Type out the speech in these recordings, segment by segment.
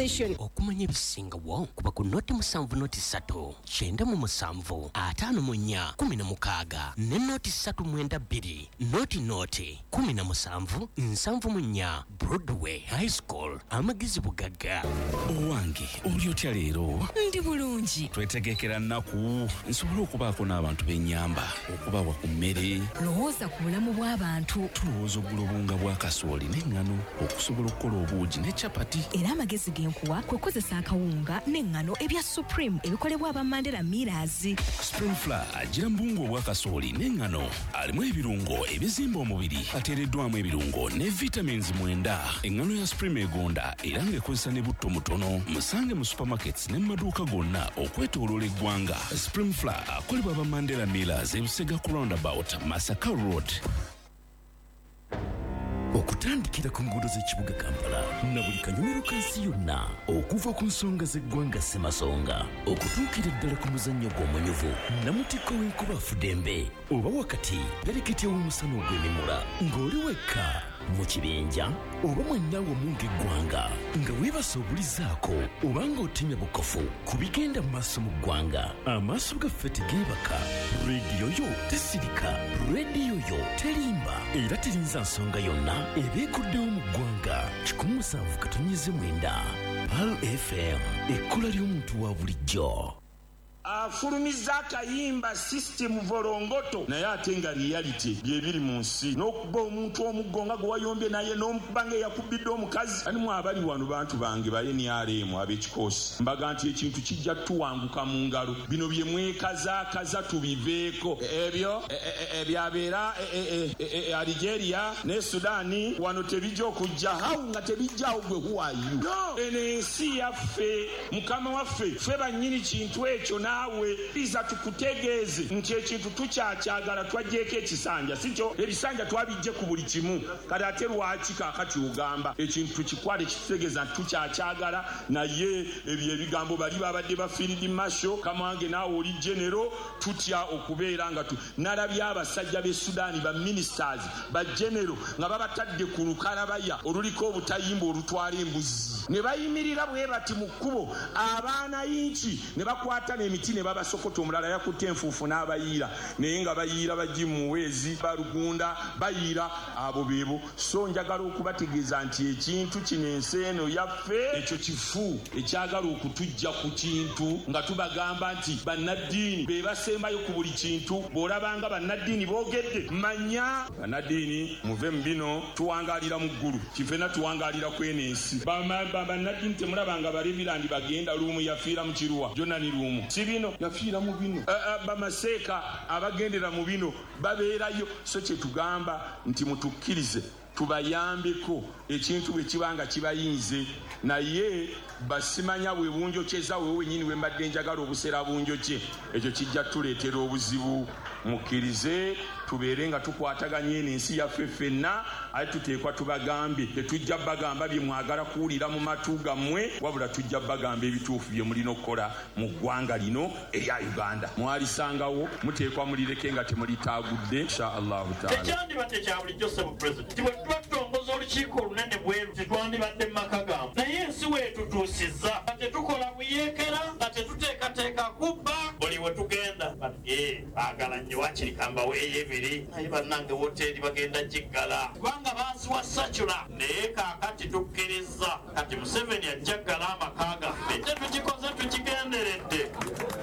Station. Okumanya ebisingawo kuba ku 070 397 54 16 ne 0 392 00 17 74. Broadway High School, amagezi bugagga. Owange, oli otya leero? Ndi bulungi. Twetegekera nnaku nsobole okubaako n'abantu b'ennyamba okubawa ku mmere. Lowooza ku bulamu bw'abantu. Tulowooza okugula obuwunga bwa kasooli n'eŋŋano okusobola okukola obuugi ne capati. Era amagezi ge nkuwa kwe kukozesa akawunga n'eŋŋano ebya Supreme ebikolebwa aba Mandela Millers. Supreme Flour agira mu buwunga obwa kasooli n'eŋŋano, alimu ebirungo ebizimba omubiri, ateereddwamu ebirungo ne vitamins 9. Eŋŋano ya Supreme egonda era ng'ekozesa ne butto mutono. Musange mu supermarkets ne mu maduuka gonna okwetooloola eggwanga. Supreme Flour akolebwa aba Mandela Millers, Ebusega ku Roundabout, Masaka Road. Okutandikira ku nguudo z'ekibuga Kampala na buli kanyomero ka nsi yonna, okuva ku nsonga z'eggwanga ssemasonga okutuukira ddala ku muzannyo gw'omunyuvu namutikko w'enkuba afudembe oba wakati pereketya w'omusana ogw'emimula, ng'oli wekka, mu kibinja oba mwenna wamu ng'eggwanga, nga weebasa obulizaako oba ng'otemya bukofu ku bigenda mu maaso mu ggwanga, amaaso gaffe tegeebaka, rediyo yo tesirika, rediyo yo terimba era terinza nsonga yonna eba eguddewo mu ggwanga. 107.9 Pearl FM, ekkula ly'omuntu wa bulijjo. Afulumizza akayimba System Volongoto naye ate nga reality byebiri mu nsi n'okuba omuntu omuggo nga gwe wayombye naye n'omukuba nga eyakubbidde omukazi. Ani mwe abali wano bantu bange ba nrm ab'ekikoosi mbaga nti ekintu kijja tuwanguka mu ngalo, bino bye mwekazaakaza tubiveeko. Ebyo ebyabeera e Algeria ne Sudan wano tebijja okujja how nga tebijjaawo gwe who are you? No eno ensi yaffe mukama waffe ffe bannyini kintu ekyo naawe kkiriza tukutegeeze nti ekintu tukyakyagala, twaggyeeko ekisanja sikyo? Ebisanja twabiggye ku buli kimu kati ate lwaki kaakati ogamba ekintu tukikwate kitutegeeza nti tukyakyagala naye ebyo ebigambo bali babadde ba Field Marshal Kamwange naawe oli General tutya okubeera nga nalabye abasajja b'e Sudan ba ministers ba General nga babatadde ku lukalabaya oluliko obutayimbwa olutwala embuzi ne bayimirira bwe bati mu kkubo abaana yinki ne bakwata n'emiti ne babasokota omulala yakutte enfuufu n'abayiira naye nga bayiira ba Jim Muhwezi ba Rugunda bayiira abo beebo so njagala okubategeeza nti ekintu kino ensi eno yaffe. Ekyo kifu ekyagala okutuggya ku kintu nga tubagamba nti bannaddiini be basembayo ku buli kintu, bw'olabanga bannaddiini boogedde manya. Bannaddiini muve mu bino, tuwangaalira mu ggulu, ffenna tuwangaalira kw'eno ensi. Bannaddiini temulaba nga Barevirandi bagenda, Luumu yafiira mu kiruwa, Jonani Luumu si bino, yafiira mu bino. Bamaseeka abagendera mu bino babeerayo, so kye tugamba nti mutukkirize tubayambeko ekintu bwe kiba nga kibayinze, naye basimanya bwe bunjokyeza wewe wennyini we mbadde njagala obusera bunjokye, ekyo kijja tuleetera obuzibu. Mukkirize tubeere nga tukwataganye eno ensi yaffe ffenna, ate tuteekwa tubagambe, tetujja bagamba bye mwagala kuwulira mu matu gammwe, wabula tujja bagamba ebituufu bye mulina okukola mu ggwanga lino erya Uganda. Mwalisangawo, muteekwa mulireke nga temulitaagudde insha Allahu taala. Tekyandibadde kya bulijjo ssebo Pulezidenti nti bwe tuba tutongoza olukiiko olunene bwe luti twandibadde mu maka gammwe, naye ensi weetutuusizza nga tetukola buyeekera, nga tetuteekateeka kubba. Buli we tugenda baagala nnyo waakiri kambaweeyo ebiri, naye bannange wooteeri bagenda giggala kubanga baaziwa sacula. Naye kaakati tukkirizza kati Museveni ajja ggala amaka gaffe, tetukikoze tukigenderedde,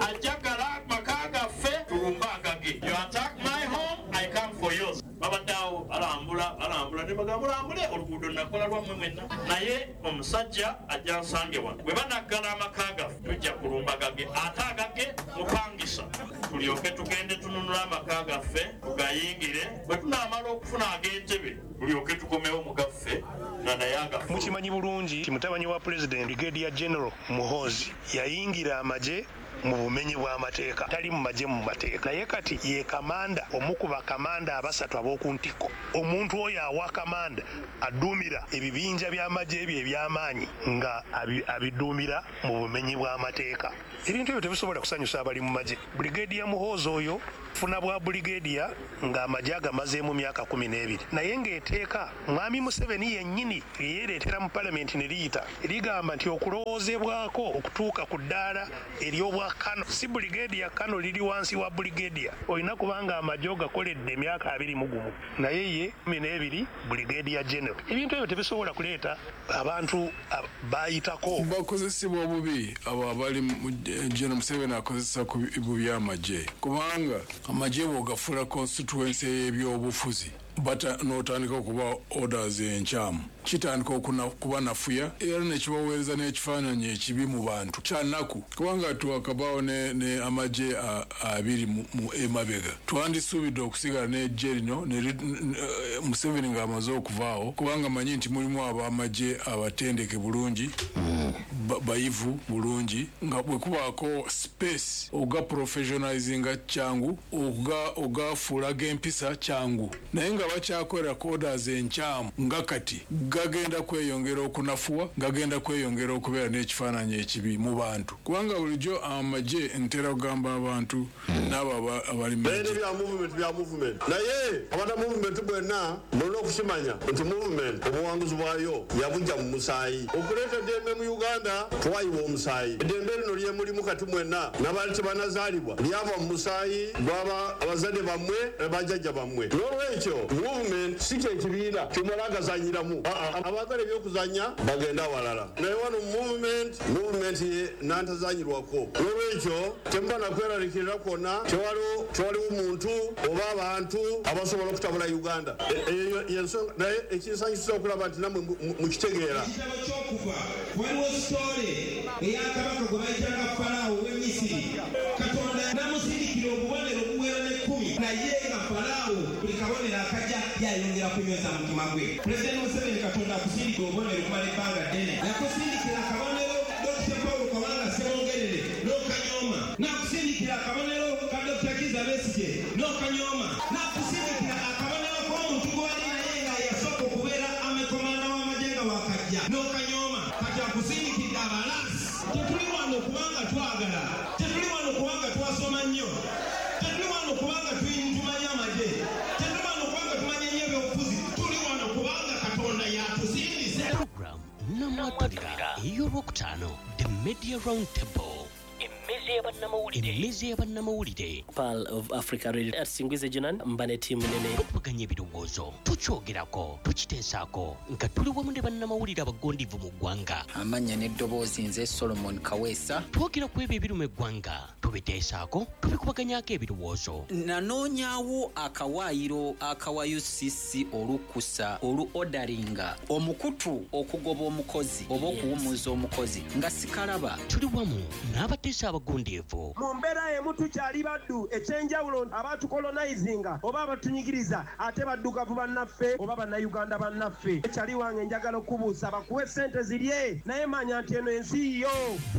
ajja ggala amaka gaffe tulumbe agage. You attack my home, I come for yours. Babadde awo balambula balambula ne bagamba mulambule oluguudo nakola lwammwe mwenna, naye omusajja ajja nsange wano. Bwe banaggala amaka gaffe tujja kulumba gage, ate agage mupangisa, tulyoke tugende tununule amaka gaffe tugayingire. Bwe tunaamala okufuna ag'entebe tulyoke tukomewo mu gaffe nga naye agaffe. Mukimanyi bulungi nti mutabani wa Pulezidenti Brigadier General Muhoozi yayingira amagye mu bumenyi bw'amateeka, tali mu magye mu mateeka, naye kati ye kamanda, omu ku bakamanda abasatu ab'oku ntikko. Omuntu oyo awa kamanda adduumira ebibinja by'amagye bye eby'amaanyi nga abiduumira mu bumenyi bw'amateeka. Ebintu ebyo tebisobola kusanyusa abali mu magye. Brigadier Muhoozi oyo funa bwa brigadier ng'amagye agamazeemu myaka 12, naye ng'eteeka Mwami Museveni yennyini lyeyereetera mu palamenti ne liyita ligamba nti okulowoozebwako okutuuka ku ddaala ery'obwa kano, si brigadier, kano liri wansi wa brigadier, olina kubanga amagye ogakoledde emyaka 21, naye ye 12 brigadier general. Ebintu ebyo tebisobola kuleeta abantu bayitako. Bakozesebwa obubi abo abali mu General Museveni akozesa ku bubi amagye, kubanga amagye bw'ogafuula constituency y'ebyobufuzi bata n'otandika okuba orders enkyamu, kitandika okubanafuya era nekibaweereza n'ekifaananyi ekibi mu bantu. Kyanaku kubanga twakabaawo ne amagye abiri mu emabega, twandisuubidde okusigala n'eggye lino Museveni ng'amaze okuvaawo, kubanga manyi nti mulimu ab'amagye abatendeke bulungi, bayivu bulungi, nga bwe kubaako space oga professionalizinga kyangu, ogafuula g'empisa kyangu, naye nga bakyakolera orders enkyamu nga kati gagenda kweyongera okunafuwa, gagenda kweyongera okubeera n'ekifaananyi ekibi mu bantu, kubanga bulijjo amagye ntera kugamba abantu n'abo abali mu magye bya movement, naye abana movement bwenna mulina okukimanya nti movement obuwanguzi bwayo yabujja mu musaayi. Okuleeta eddembe mu Uganda twayiwa omusaayi. Eddembe lino lyemulimu kati mwenna n'abaali tebanazaalibwa lyava mu musaayi gw'aba abazadde bammwe ne bajjajja bammwe. N'olwekyo movement si kyekibiina kyomala agazanyiramu, abaagala ebyokuzanya bagenda awalala, naye wano movement nantazanyirwako. N'olwekyo temuba nakweraliikirira kwonna, tewaliwo muntu oba abantu abasobola okutabula Uganda. Eyo yensonga, naye ekinsanyusa okulaba nti nammwe mukitegeera. Ekitabo ky'okuva waliwo sitole eya kabaka gwe bayitanga Falaawo ow'e Misiri. Katonda n'amusindikira obubonero obuwera n'ekkumi, naye nga Falaawo buli kabonero akajja yayongera kunyweza mutima gwe. Pulezidenti Museveni, Katonda akusindikira obubonero okumala ebbanga ddene. Yakusindikira akabonero Dr. Paul Kawanga Ssemogerere n'okanyooma, n'akusindikira akabonero ka Dr. Kizza Besigye n'okanyooma, n'akusindikira akabonero k'omuntu gw'ali naye nga yasooka okubeera amekomanda w'amagye nga wakajja n'okanyooma. Kati akusindikidde abalansi. Tetuli wano kubanga twagala, tetuli wano kubanga twasoma nnyo, tetuli wano kubanga tumanyi amagye, tetuli wano kubanga tumanyi nnyo ebyobufuzi, tuli wano kubanga Katonda yatusindise. Program Namwatulira ey'olwokutaano, The Media Round Table, emmeeza y'abannamawulire. Pearl of Africa Radio atusingwize Jonan mba ne ttiimu nene. Tukubaganya ebirowoozo, tukyogerako, tukiteesaako nga tuli wamu ne bannamawulire abagondivu mu ggwanga. Amannya n'eddoboozi nze Solomon Kaweesa. Twogera ku ebyo ebiruma eggwanga, tubiteesaako, tubikubaganyaako ebirowoozo. Nanoonyaawo akawaayiro akawa UCC olukusa olu orderinga omukutu okugoba omukozi oba okuwummuza omukozi nga sikalaba. Tuli wamu n'abateesa abagundiivu. Mu mbeera emu tukyali baddu, ekyenjawulo abatukolonizinga oba abatunyigiriza ate baddugavu bannaffe oba bannayuganda bannaffe. Ekyali wange njagala okubuusa bakuwe ssente zirye, naye manya nti eno ensi yo.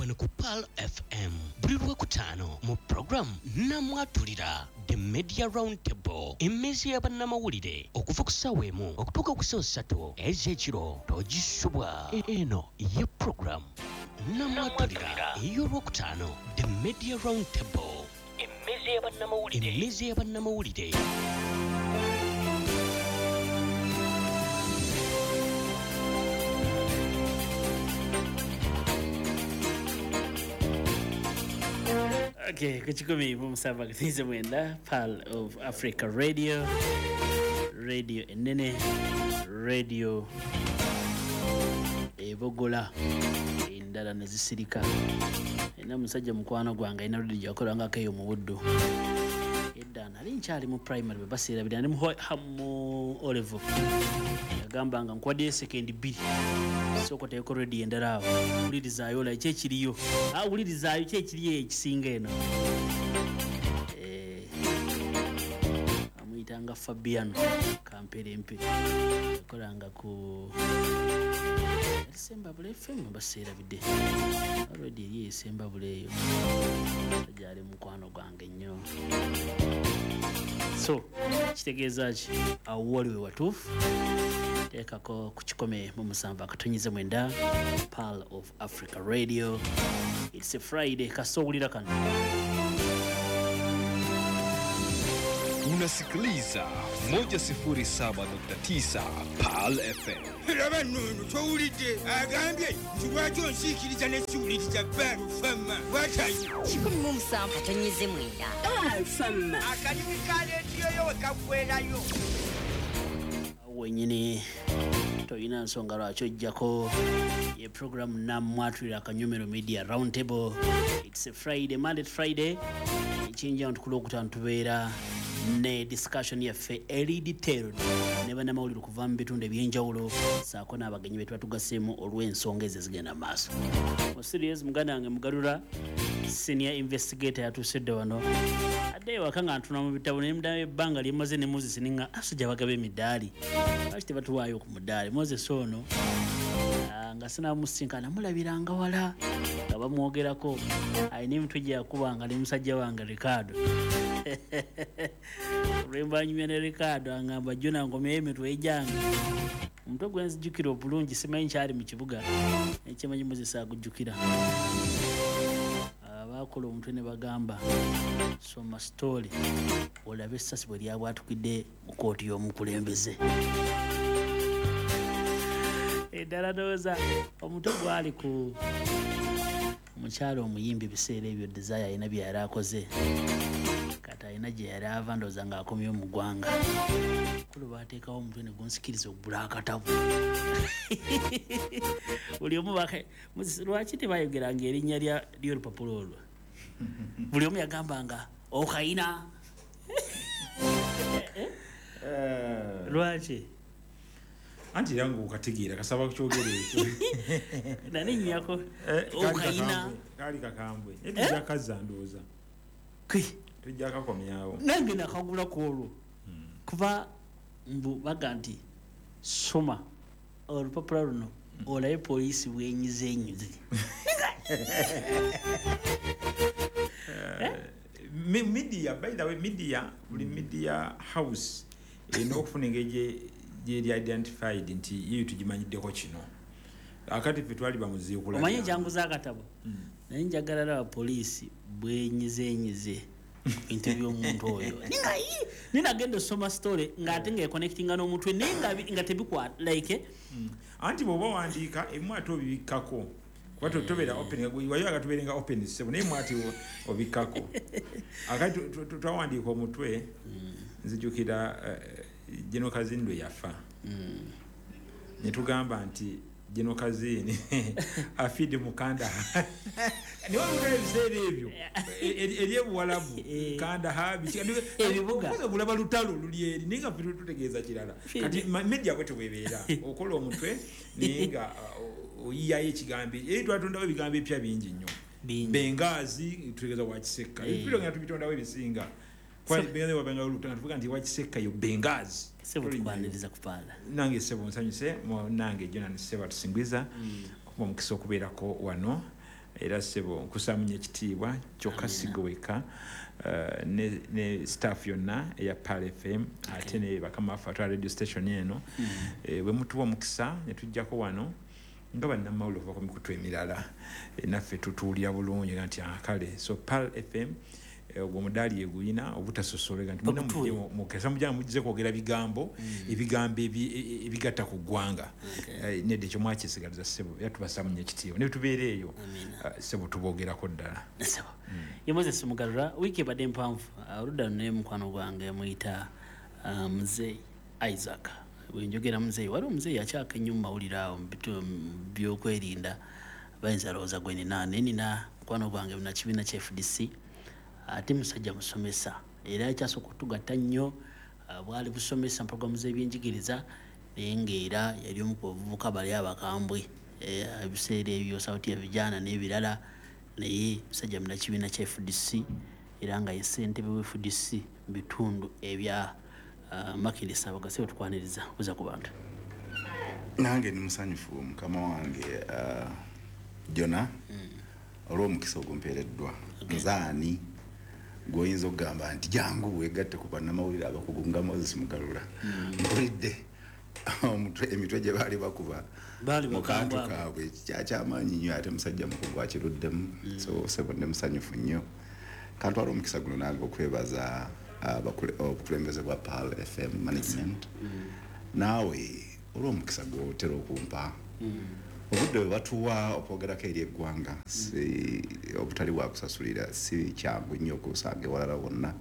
Wano ku Pearl FM buli Lwokutaano mu program Namwatulira, The Media Round Table, emmeeza y'abannamawulire okuva ku ssaawa 1 okutuuka ku ssaawa 3 ez'ekiro. Togisubwa. Eno ye program Namwatulira ey'olwokutaano, The Media Round Table, emmeeza y'abannamawulire. Okay, ku 107.9 Pearl of Africa Radio, radio enene, radio ebogola endala ne zisirika. Ena musajja mukwano gwange alina radio gyakolangako eyo mu Buddu. Edda nali nkyali mu primary bwe baseerabira ndi mu O level. Yagamba nga nkwaddeyo sekendi 2 sooka oteeko radio endala awo, wulirizaayo olaba ki ekiriyo, wulirizaayo ki ekiriyo ekisinga eno. Amuyitanga Fabiano Kamperempe, yakolanga ku Sembabule FM baseerabidde. Already eri Sembabule eyo, gyali mukwano gwange nnyo. So kitegeeza ki awo wali we watuufu Teekako ku 107.9 Pearl of Africa Radio. It's a Friday, kasowulira kano. Unasikiliza 107.9 Pearl FM. Laba nno towulidde agambye nti lwaki onsiikiriza n'ekiwuliriza Alfama bwatayo 107.9 Alfama. Akalimi ka leediyo yo we kaggwerayo. Wenyini toyina nsonga lwaki ojjako ye program namwatulira akanyomero Media Roundtable. It's a Friday, Monday to Friday, ekinja nti ku Lwokutaano tubeera ne discussion yaffe eri detailed ne bannamawulire okuva mu bitundu ebyenjawulo ssaako n'abagenyi be tuba tugaseemu olw'ensonga ezo ezigenda mu maaso. Mu series muganda wange Mugarura, senior investigator, yatuusedde wano adde ewaka nga ntuna mu bitabo naye muddamu ebbanga lye mmaze ne Moses ninga asajja bagaba emidaali, lwaki tebatuwaayo ku mudaali? Moses ono nga sinamusinkana namulabiranga wala nga bamwogerako, alina emitwe gye yakubanga ne musajja wange Ricardo. Lwemba nyumya ne Ricardo angamba jona ngomyeyo emitwe egyange. Omutwe gwe nzijukira obulungi simanyi nkyali mu kibuga, ekyemanyi Moses agujjukira. Abakola omutwe ne bagamba soma story olabe essasi bwe lyabwatukidde mu kooti y'omukulembeze. Eddala ndowooza omutwe gwali ku omukyala omuyimbi ebiseera ebyo Desire alina bye yali akoze, kati alina gye yali ava ndowooza ng'akomyewo mu ggwanga. Kulu baateekawo omutwe ne gunsikiriza okugula akatabo. Buli omu lwaki tebayogeranga erinnya ly'olupapula olwo? Buli omu yagambanga okayina. Lwaki? Anti era ng'okategeera kasaba kukyogera ekyo. Naninnyako okayina. Kaali kakambwe. Naye tujja kazza ndowooza. Tujja kakomyawo. Nange nakagula ku olwo. Kuba mbu baga nti soma olupapula luno olabe poliisi bwenyize enyize. Media, by the way, media, buli media house erina okufuna engeri gyeri identified nti yeyo tugimanyiddeko kino. Akati ffe twali bamuziikula. Omanyi ekyanguza akatabo? Naye njagala laba poliisi bwenyize enyize bintu by'omuntu oyo. Nina osoma story ng'ate ng'econnectinga n'omutwe naye nga tebikwata like. Anti bw'oba owandiika ebimu ate obibikkako. Kuba tobeera open, waliwo agatubeerenga open ssebo naye emu ate obikkako. Akati twawandiika omutwe nzijukira General Kazini lwe yafa. Ne tugamba nti General Kazini afidde mu Kandahar. Niwe olutalo ebiseera ebyo eri ebuwalabu Kandahar ebibuga kulaba lutalo luli eri naye nga ffe tutegeeza kirala. Kati media bwetyo bwebeera okola omutwe naye nga oyiyayo ekigambo eri twatondawo ebigambo ebipya bingi nnyo. Bengaazi tutegeeza Wakisekka. Ebipya nga tubitondawo ebisinga. Tuvuga nti Wakisekka yo Bengaazi. Ssebo tukwaniriza kupaala. Nange ssebo nsanyuse nange Jonan ssebo atusingiza okuba omukisa okubeerako wano era ssebo nkusaamu nnyo ekitiibwa kyokka sigoweka ne staff yonna eya Pearl FM ate ne bakama baffe atwala radio station eno bwe mutuwa omukisa ne tujjako wano nga bannamawulire okuva ku mikutu emirala naffe tutuulira bulungi nti kale so Pearl FM ogwo omudaali eguyina obutasosolega nti mukesa mujja mujje kwogera bigambo ebigambo ebigatta ku ggwanga nedda ekyo mwakisigaliza ssebo era tubasaamu nnyo ekitiibwa ne tubeera eyo ssebo tuboogerako ddala. Ssebo ye Moses Mugarura, wiiki ebadde mpanvu oludda luno mukwano gwange muyita Muzeeyi Isaac. Bwe njogera Muzeeyi, waliwo Muzeeyi akyaka ennyo mu mawulire awo mu byokwerinda bayinza lowooza gwe nina, naye nina mukwano gwange munnakibiina kya FDC ate musajja musomesa era ekyasooka okutugatta nnyo bwali busomesa mu programu z'ebyenjigiriza naye ng'era yali omu ku bavubuka bali abakambwe ebiseera ebyo Sauti ya Vijana n'ebirala, naye musajja munnakibiina kya FDC era nga ye ssentebe wa FDC mu bitundu ebya Makindye Ssabagabo. Tukwaniriza buza ku bantu. Nange ndi musanyufu mukama wange Jona olw'omukisa ogumpeereddwa. Nzaani gw'oyinza okugamba nti jangu weegatte ku bannamawulire abakugu nga Moses Mugarura. Mpulidde Emitwe gye baali bakuba mu kantu kaabwe kyakyamaanyi nnyo, ate musajja mukugu akiruddemu. So sebo ndi musanyufu nnyo. Kantwala omukisa guno nange okwebaza obukulembeze bwa Pearl FM management, naawe olw'omukisa gw'otera okumpa. Obudde bwe batuwa okwogerako eri eggwanga si obutali bwakusasulira, si kyangu nnyo okusanga ewalala wonna.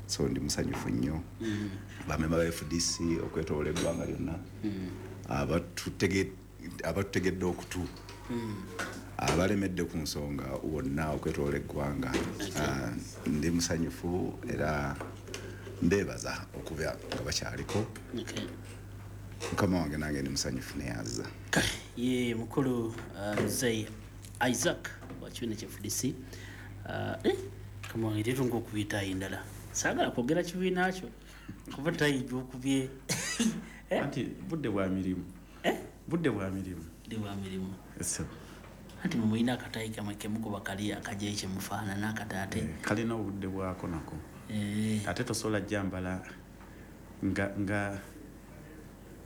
So ndi musanyufu nnyo. Bamemba ba FDC okwetoloola eggwanga lyonna, abatutegedde okutu, abalemedde ku nsonga wonna okwetoloola eggwanga. Ndi musanyufu era mbeebaza okuba nga bakyaliko. Mukama wange nange ndi musanyufu neyaza. Ye mukulu Mzee Isaac wa kibiina kya FDC. Mukama wange tetunga okubiyita endala, saagala kwogera kibiina kyo kuba tayijja okubye. Anti budde bwa mirimu. Budde bwa mirimu. Budde bwa mirimu. Anti mwe mulina akatayi kamwe kemukuba kali akajeyi kyemufaanana akataate. Kalina obudde bwako nako. Ate tosobola jambala nga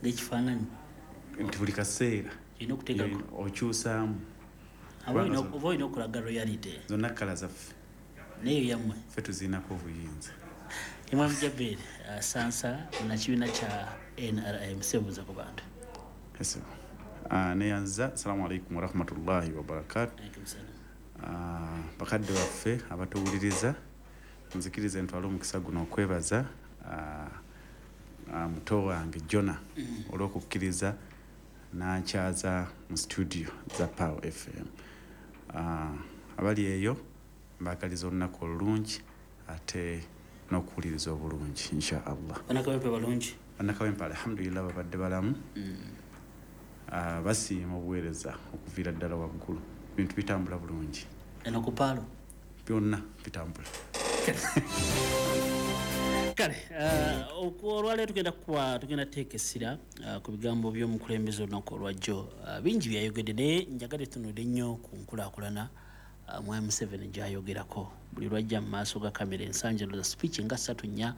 ng'ekifaananyi nti buli kaseera olina okuteekako okyusaamu. Oba olina okulaga royalty. Zonna kkala zaffe. Naye yammwe ffe tuziinako obuyinza. Imam Jabir Sansa munakibiina kya NRM, sebuuza ku bantu. Neyanza. Assalamu alaikum warahmatullahi wabarakatu. Bakadde baffe abatuwuliriza, nzikirize ntwale omukisa guno okwebaza muto wange Jona olw'okukkiriza n'ankyaza mu studio za Pearl FM. Abali eyo mbaagaliza olunaku olulungi ate n'okuwuliriza obulungi insha Allah. Bannakawempe balungi? Bannakawempe alhamdulillah babadde balamu. Basiima obuweereza okuviira ddala waggulu, bintu bitambula bulungi. Eno ku Pearl byonna bitambula. Kale olwaleero tugenda teeka essira ku bigambo by'omukulembeze olunaku olwajjo. Bingi byayogedde, naye njagadde tutunudde nnyo ku nkulaakulana Mwami Museveni gy'ayogerako. Buli lwajja mu maaso ga kamera ensangi za speech nga 3-4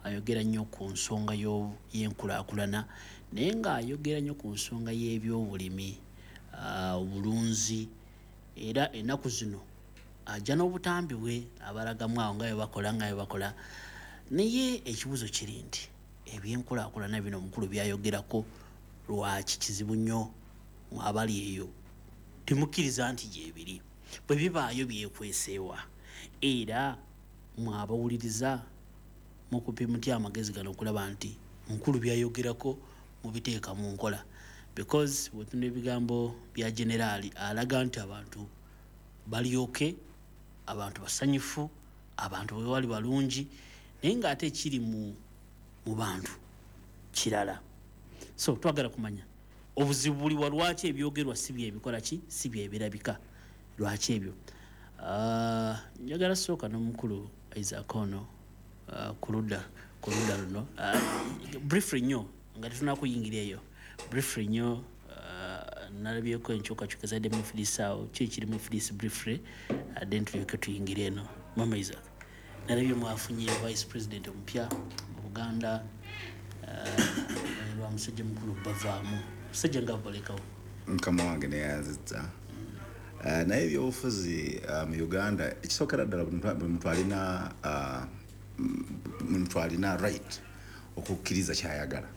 ayogera nnyo ku nsonga y'enkulaakulana, naye ng'ayogera nnyo ku nsonga y'ebyobulimi, obulunzi, era ennaku zino ajja n'obutambi bwe abalagamu awo nga bwe bakola. Naye ekibuuzo kiri nti ebyenkulaakulana bino omukulu byayogerako lwaki kizibu nnyo abali eyo temukkiriza nti gyebiri? Bwe bibaayo byekweseewa, era mwabawuliriza mukupi mutya amagezi gano okulaba nti mukulu byayogerako mubiteeka mu nkola? Because bwetunda ebigambo bya generaali alaga nti abantu balyoke, abantu basanyufu, abantu bwe bali balungi, naye ng'ate kiri mu bantu kirala. So twagala kumanya obuzibu buli wa lwaki ebyogerwa si byebikola ki, si byebirabika, lwaki ebyo. Njagala sooka n'omukulu Isaac ono ku ludda luno briefly nnyo nga tetunnakuyingira eyo, briefly nnyo nalabyeko enkyukakyuka ezadde mu FDC awo, ki ekiri mu FDC briefly, then tulyoke tuyingire eno. Mama Isaac, nalabye mwafunye vice president omupya mu Buganda, lwa musajja mukulu bavaamu musajja nga balekawo. Mukama wange neyanzizza. Naye ebyobufuzi mu Uganda ekisookera ddala buli muntu alina right okukkiriza kyayagala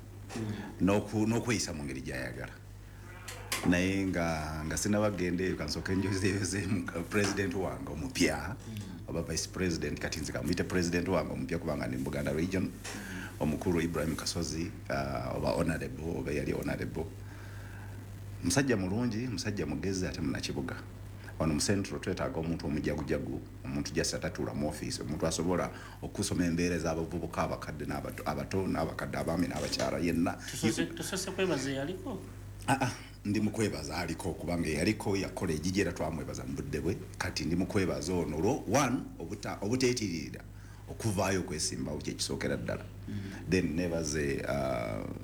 n'okweyisa mu ngeri gy'ayagala. Naye nga sinnabagenda eyo, kansooke njozeeyoze president wange omupya oba vice president, kati nze kamuyite president wange omupya kubanga ndi mu Buganda region, omukulu Ibrahim Kasozi, oba honorable, oba yali honorable. Musajja mulungi, musajja mugezi ate munnakibuga. Wano mu Central twetaaga omuntu omujagujagu, omuntu just atatuula mu office, omuntu asobola okusoma embeera ez'abavubuka, abakadde abato n'abakadde, abaami n'abakyala yenna. Tusose kwebaza yaliko? Ndi mukwebaza aliko kubanga yaliko yakola ejiji era twamwebaza mu budde bwe. Kati ndi mukwebaza ono olwo one obuteetiririra okuvaayo okwesimbawo kyekisookera ddala. Then nebaze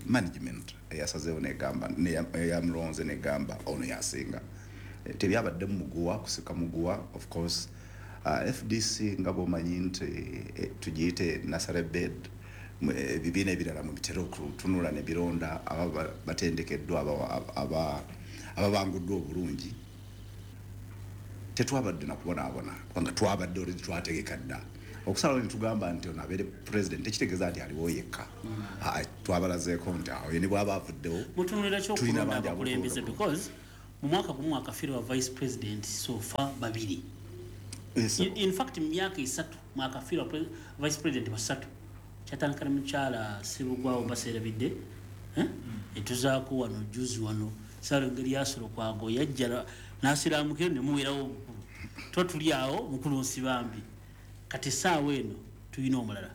management eyasazeewo negamba eyamulonze negamba ono yasinga. Tebyabadde mu muguwa, kusika muguwa of course. FDC nga bw'omanyi nti tugiyite nursery bed, Ebibiina ebirala mu bitera okutunula ne bironda aba batendekeddwa, ababanguddwa obulungi, tetwabadde nakubonaabona, kubanga twabadde already twategeka dda okusalawo ne tugamba nti ono abeere president. Tekitegeeza nti aliwo yekka. Twabalazeeko nti awo ye ne bw'aba avuddewo Mutunulira tulina kyokulonda bangi abakulembeze, because mu mwaka gumu akafiirwa vice president so far babiri. In fact, mu myaka 3 mwakafiirwa vice president basatu. Kyatandika ne mukyala Sibugwawo baseerabidde, eh? Etuzaako wano juzi wano Saalongo Erias Lukwago yajja n'asiraamukiro ne muwerawo obukulu. Tuba tuli awo mukulu Nsibambi, kati essaawa eno tulina omulala.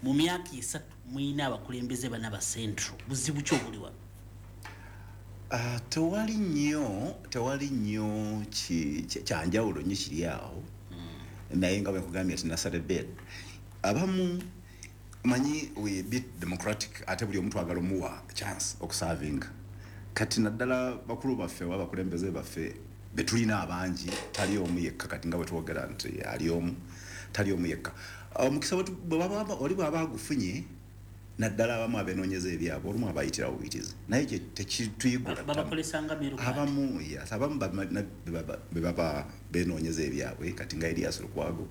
Mu myaka 3 mulina abakulembeze bana ba Central, buzibu ki obuli wano? Tewali nnyo kyanjawulo nnyo kiri awo, naye nga bwe nkugambye nti nasale bed abamu manyi we bit democratic, ate buli omuntu agala omuwa chance okusavinga. Kati naddala bakulu baffe oba abakulembeze baffe betulina abangi, tali omu yekka. Kati nga bwe twogera nti ali omu, tali omu yekka. Omukisa oli bw'aba agufunye, naddala abamu abenoonyeza ebyabwe, olumu abayitirawo buyitizi, naye tekituyigula. Babakolesanga meru. Abamu, yes, abamu be baba benoonyeza ebyabwe. Kati nga Erias Lukwago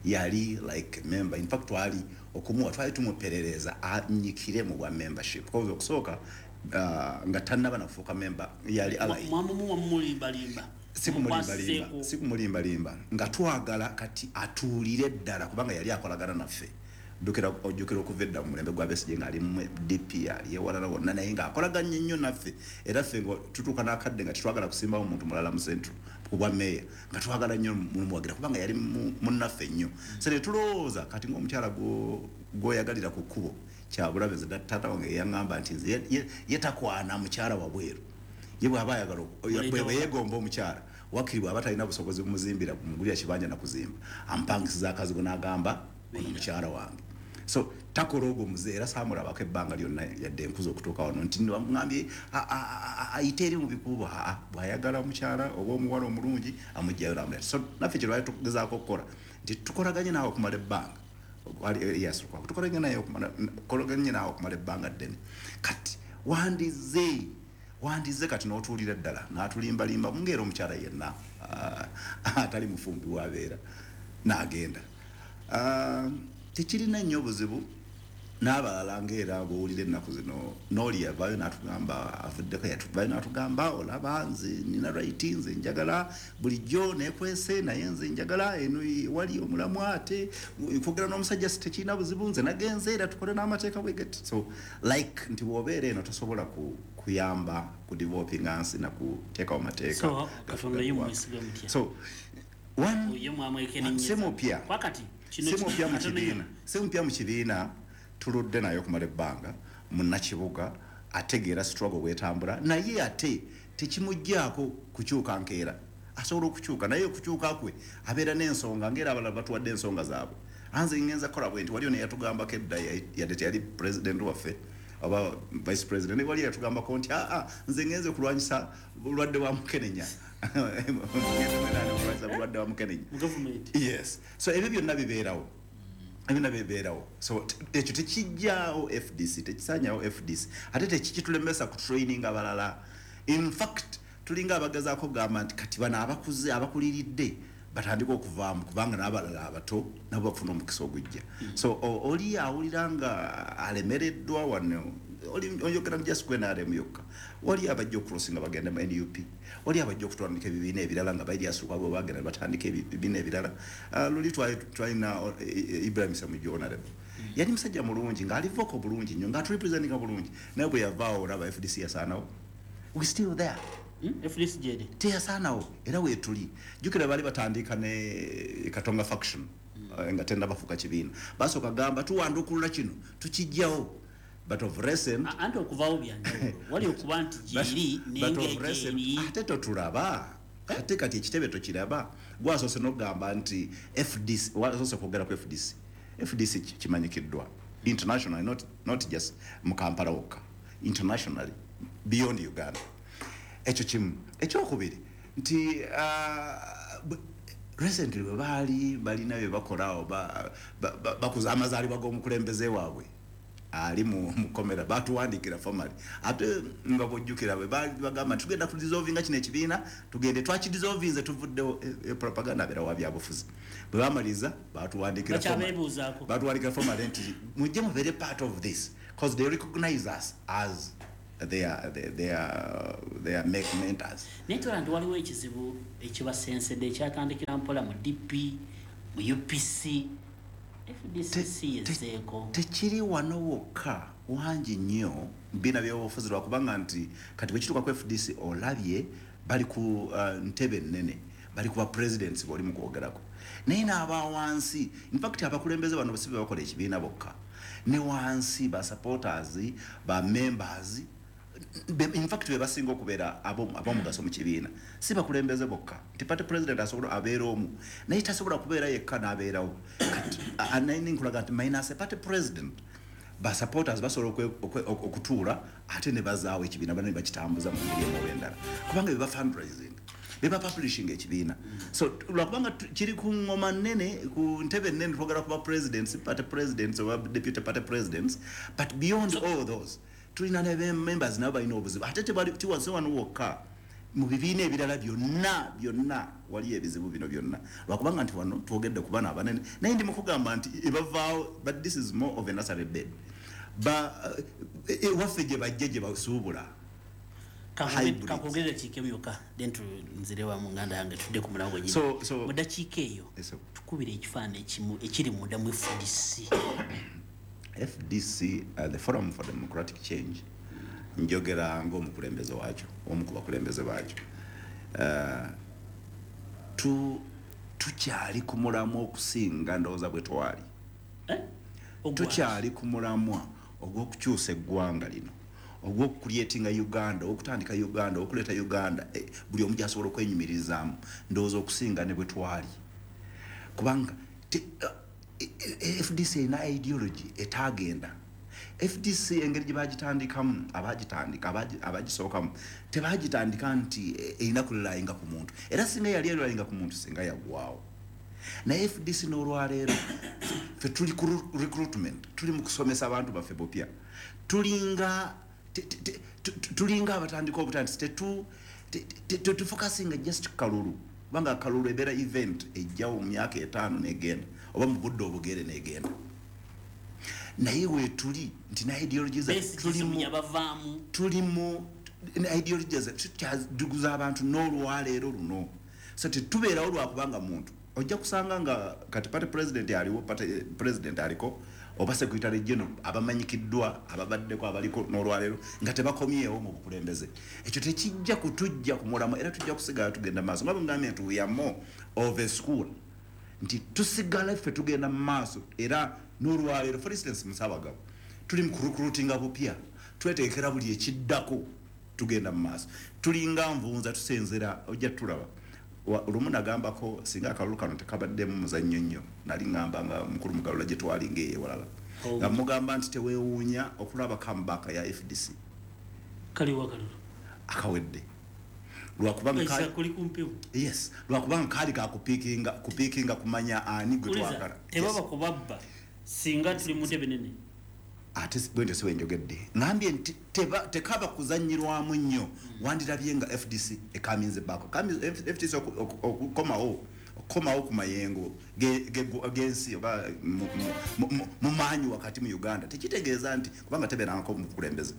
yali like member, in fact twali okumuwa twali tumuperereza anyikire mu bwa membership, because okusooka nga tannaba nakufuuka member yali ally. Mwamumuwa mumulimbalimba? Sikumulimbalimba, sikumulimbalimba, nga twagala kati atuulire ddala, kubanga yali akolagana naffe. Ojjukira okuva edda mu mulembe gwa Besigye ng'ali mu DP, ali ewalala wonna, naye ng'akolaganye nnyo naffe. Era ffe nga tutuuka n'akadde nga tetwagala kusimbawo muntu mulala mu Central ku bwa meeya, nga twagala nnyo mumuwagira kubanga yali munnaffe nnyo. So ne tulowooza kati ng'omukyala gw'oyagalira ku kkubo kyabulabe. Nze taata wange yaŋŋamba nti nze ye takwana mukyala wabweru, ye bw'aba ayagala bwe yeegomba omukyala, wakiri bw'aba talina busobozi bumuzimbira, bumugulira kibanja na kuzimba, amupangisiza akazigo n'agamba ono mukyala wange. So takola ogwo muze, era saamulabako ebbanga lyonna yadde enkuza okutuuka wano nti ŋambye ayite eri mu bikuubo. Aa, bw'ayagala omukyala oba omuwala omulungi amugjayo namuleta. So naffe kye twali tugezaako okukola nti tukolaganye naawe okumala ebbanga, Erias Lukwago tukolaganye naawe okumala ebbanga ddene. Kati wandize kati n'otuulira ddala n'atulimbalimba mungeera omukyala yenna atali mufumbi wabeera n'agenda. Tekirina nnyo buzibu n'abalala ng'era bw'owulira ennaku zino n'oli yavaayo n'atugamba avuddeko, yatuvaayo n'atugamba olaba nze nina right, nze njagala bulijjo neekwese, naye nze njagala eno wali omulamwa, ate kwogera n'omusajja si tekirina buzibu, nze nagenze era tukole n'amateeka bwe gati. So like nti bw'obeera eno tosobola kuyamba ku developinga nsi na kuteekawo mateeka. So Katonda ye mwesiga mutya? So one Ye mwamwekennenyeza? Si mupya. Kwakati kino Si mupya mu katono kibiina, si mupya mu kibiina, tuludde naye okumala ebbanga. Munnakibuga ategeera struggle bwetambula, naye ate tekimugjaako kukyuka nkeera. Asobola okukyuka, naye okukyuka kwe abeera n'ensonga ngaera abalala batuwadde ensonga zaabwe. Anze ngenza kukola bwe nti waliyo neyatugambako edda, yadde teyali president waffe oba vice president, naye waliyo yatugambako nti aa, nze ngenze kulwanyisa bulwadde bwa mukenenya, kulwanyisa bulwadde bwa mukenenya. Mu gavumenti? Yes, so ebyo byonna bibeerawo, ebyo byonna bibeerawo. So ekyo tekijjaawo FDC, tekisanyawo FDC, ate tekikitulemesa ku training abalala. In fact tulinga abagezaako kugamba nti kati bano abakuze abakuliridde batandika okuvaamu, kubanga n'abalala abato nabo bafuna omukisa ogujja. So oli awulira nga alemereddwa wano, oyogera mu just ku NRM yokka, wali abajja okucrossinga bagenda mu NUP, wali abajja okutandika ebibiina ebirala nga ba Erias Lukwago bagenda ne batandika ebibiina ebirala. Luli twalina Ibrahim Ssemujju honorable, yali musajja mulungi ng'ali vocal bulungi nnyo, ng'aturepresentinga bulungi, naye bwe yavaawo olaba FDC yasaanawo. We still there. FDC gyeri? Teyasaanawo, era weetuli. Jjukira baali batandika ne Katonga faction, nga tenda bafuuka kibiina, basooka gamba tuwandukulula kino tukijjawo, but of recent Anti okuvaawo byanjawulo, wali okuba nti gyeri but of recent nengegyeri. Ate totulaba, ate kati ekitebe tokiraba. Gwasoose n'okugamba nti FDC, wasoose kwogera ku FDC. FDC kimanyikiddwa internationally, not just mu Kampala wokka, internationally beyond Uganda. Ekyo kimu. Ekyokubiri nti recently bwe baali balina bye bakolaawo, bakuza amazaalibwa g'omukulembeze waabwe. Ali mu mukomera batuwandikira formally, ate nga bwojjukira bwe bagamba tugenda kudissolvinga kino ekibiina, tugende twakidissolvinze, tuvuddewo. Propaganda abeera wa byabufuzi. Bwe bamaliza batuwandikira Bakyabeebuuzaako. Batuwandikira formally nti mujje mubeere part of this, because they recognize us as their make mentors. Naye tola nti waliwo ekizibu ekibasensedde ekyatandikira mpola mu DP, mu UPC, FDC yezeeko. Tekiri wano wokka, wangi nnyo bina byobufuzi, lwakubanga nti kati bwekituuka ku FDC olabye bali ku ntebe nnene, bali ku ba presidents boli mu kwogerako, naye n'aba wansi, infact abakulembeze bano si be bakola ekibiina bokka, ne wansi ba supporters, ba members, in fact be basinga okubeera ab'omugaso mu kibiina, si bakulembeze bokka. Nti party president asobola abeera omu, naye tasobola kubeera yekka n'abeerawo. Kati naye nkulaga nti minus a party president, ba supporters basobola okutuula ate ne bazaawo ekibiina, bano ne bakitambuza mu ngeri emu oba endala, kubanga be ba fundraising, be ba publishing ekibiina. So lwakubanga kiri ku ngoma nnene, ku ntebe nnene, twogera ku ba presidents, party presidents oba deputy party presidents, but beyond all those tulina ne members, nabo balina obuzibu. Ate tebali tiwase wano wokka, mu bibiina ebirala byonna byonna waliyo ebizibu bino byonna, lwakubanga nti wano twogedde ku bano abanene, naye ndi mukugamba nti ebavaawo, but this is more of a nursery bed. Ba ewaffe gye bajja gye basuubula. Hybrids. Kakwogera dakiika emu yokka, then nzire wa mu nganda yange tudde ku mulamwa gwennyini. Mu dakiika eyo tukubira ekifaananyi ekimu ekiri munda mu FDC. FDC, the Forum for Democratic Change, njogera ng'omukulembeze waakyo, omu ku bakulembeze baakyo. Tukyali ku mulamwa okusinga ndowooza bwe twali. Tukyali ku mulamwa ogw'okukyusa eggwanga lino, ogw'okucreatinga Uganda, okutandika Uganda, okuleeta Uganda buli omu gyasobola okwenyumirizaamu, ndowooza okusinga ne bwe twali, kubanga FDC erina ideology etagenda. FDC engeri gye bagitandikamu, abagitandika, abagisookamu, tebagitandika nti erina kurelyinga ku muntu, era singa yali erelyinga ku muntu singa yaggwawo. Naye FDC n'olwaleero ffe tuli ku recruitment, tuli mu kusomesa abantu baffe bupya, tulinga abatandika obutandisi. Tetufocusinga just kalulu, kubanga kalulu ebeera event ejjawo mu myaka 5 negenda, oba mu budde obugere negenda, naye weetuli nti na ideology zaffe Besigye yabavaamu. Tuli mu ideology zaffe, tukyaduguza abantu n'olwaleero luno. So tetubeerawo lwakubanga muntu ojja kusanga nga kati party president aliwo, party president aliko oba secretary general abamanyikiddwa, ababaddeko, abaliko n'olwaleero nga tebakomyewo mu bukulembeze. Ekyo tekijja kutujja ku mulamwa, era tujja kusigala tugenda maaso. Nga bwe ngambye nti we are more of a school, nti tusigala ffe tugenda mu maaso era n'olwaleero. For instance, Musabagabo tuli mu kurecruitinga bupya, twetegekera buli ekiddako, tugenda mu maaso, tulinga nvunza tusenzera. Ojja tulaba. Lumu nagambako singa akalulu kano tekabaddemu muzannyo nnyo, nali ŋŋamba nga mukulu Mugalula gye twalinga eyo ewalala, nga mugamba nti teweewuunya okulaba comeback ya FDC. Kaliwa kalulu? Akawedde, lwakubanga Isaac, kuli ku mpewo. Yes, lwakubanga kaali kakupikinga kumanya ani gwe Uliza, twagala. Tebaba kubabba singa tuli mu ntebe nene. Ate bwentyo si bwenjogedde, ŋambye nti tekaba kuzannyirwamu nnyo, wandirabye nga FDC ekaminze baako. FDC okukomawo ku mayengo g'ensi oba mu maanyi wakati mu Uganda, tekitegeeza nti kubanga tebeerangako mu bukulembeze,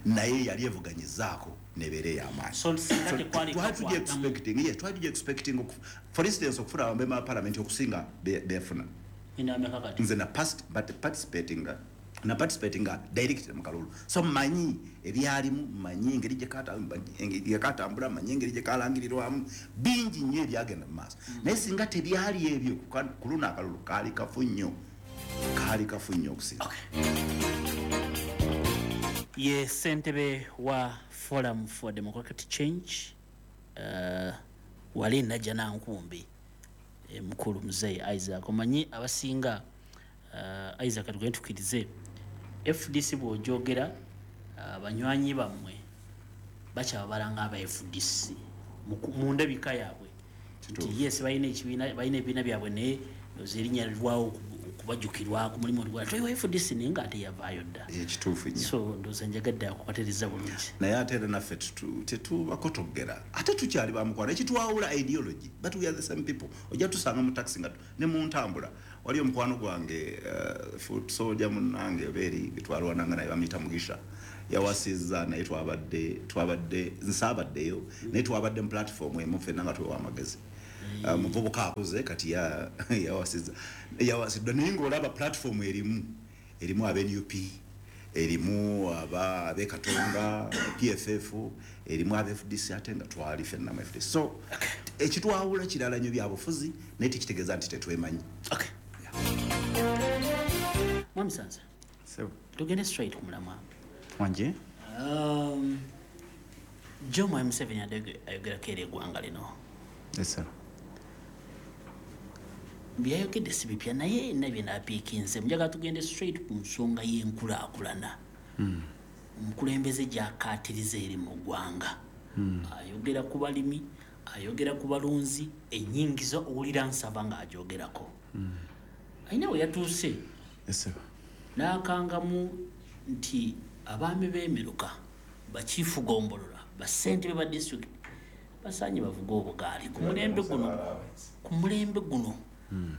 naye yali evuganyizaako nebeera ey'amaanyi. So, singa So, tekwali twali tugi kakwatamu. expecting, yes, twali tugi expecting for instance okufuna abamemba ba parliament okusinga befuna. Ina ameka kati? Nze na past, but participating na participating direct mu kalulu, so manyi ebyalimu, manyi engeri gye katambula, manyi engeri gye kalangirirwamu, bingi nnyo ebyagenda mu maaso. Naye singa tebyali ebyo, ku luno akalulu kaali kafu nnyo, kaali kafu nnyo okusinga. Ye ssentebe wa Forum for Democratic Change, wali Najja Nankumbi, mukulu muzeeyi Isaac. Omanyi abasinga, Isaac, tugende tukkirize FDC, bw'ojogera banywanyi bammwe bakyababala nga aba FDC mu ndabika yaabwe, nti yes, balina ekibiina, balina ebibiina byabwe, naye ndowooza erinnya lirwawo. Okubajjukirwako mulimu gwa toyiwa FDC, naye nga ate yavaayo dda. Ekituufu nnyo. So ndowooza njagadde akukatereza bulungi. Naye ate era naffe tetubakotogera, ate tukyali bamukwano. Ekitwawula ideology, but we are the same people. Ojja tusanga mu taxi nga ne mu ntambula. Wali omukwano gwange, foot soldier munnange obeeri twalwananga naye, bamuyita Mugisha, yawasizza, naye twabadde nsaabaddeyo, naye twabadde mu platform emu ffenna nga twewa amagezi. Muvubuka akuze kati, yawasizza, yawasiddwa, naye ng'olaba platform erimu abe NUP, erimu aba ab'e Katonga PFF, erimu aba FDC, ate nga twali ffenna mu FDC. So ekitwawula kirala nnyo, byabufuzi, naye tekitegeeza nti tetwemanyi. Mwami Sansa, tugende straight ku mulamwa. Wanje. Jomo Museveni ayogerako eri eggwanga lino. Yes, sir. Byayogedde si bipya, naye nna bye naapiikinze. Njagala tugende straight ku nsonga y'enkulaakulana. Omukulembeze gy'akaatiriza eri mu ggwanga. Ayogera ku balimi, ayogera ku balunzi, ennyingiza owulira nsaba ng'agyogerako. Alina we yatuuse Yes, sir. n'akangamu nti abaami b'emiruka, bakiifu gombolola, bassentebe ba disitulikiti basaanye bavuge obugaali ku mulembe guno.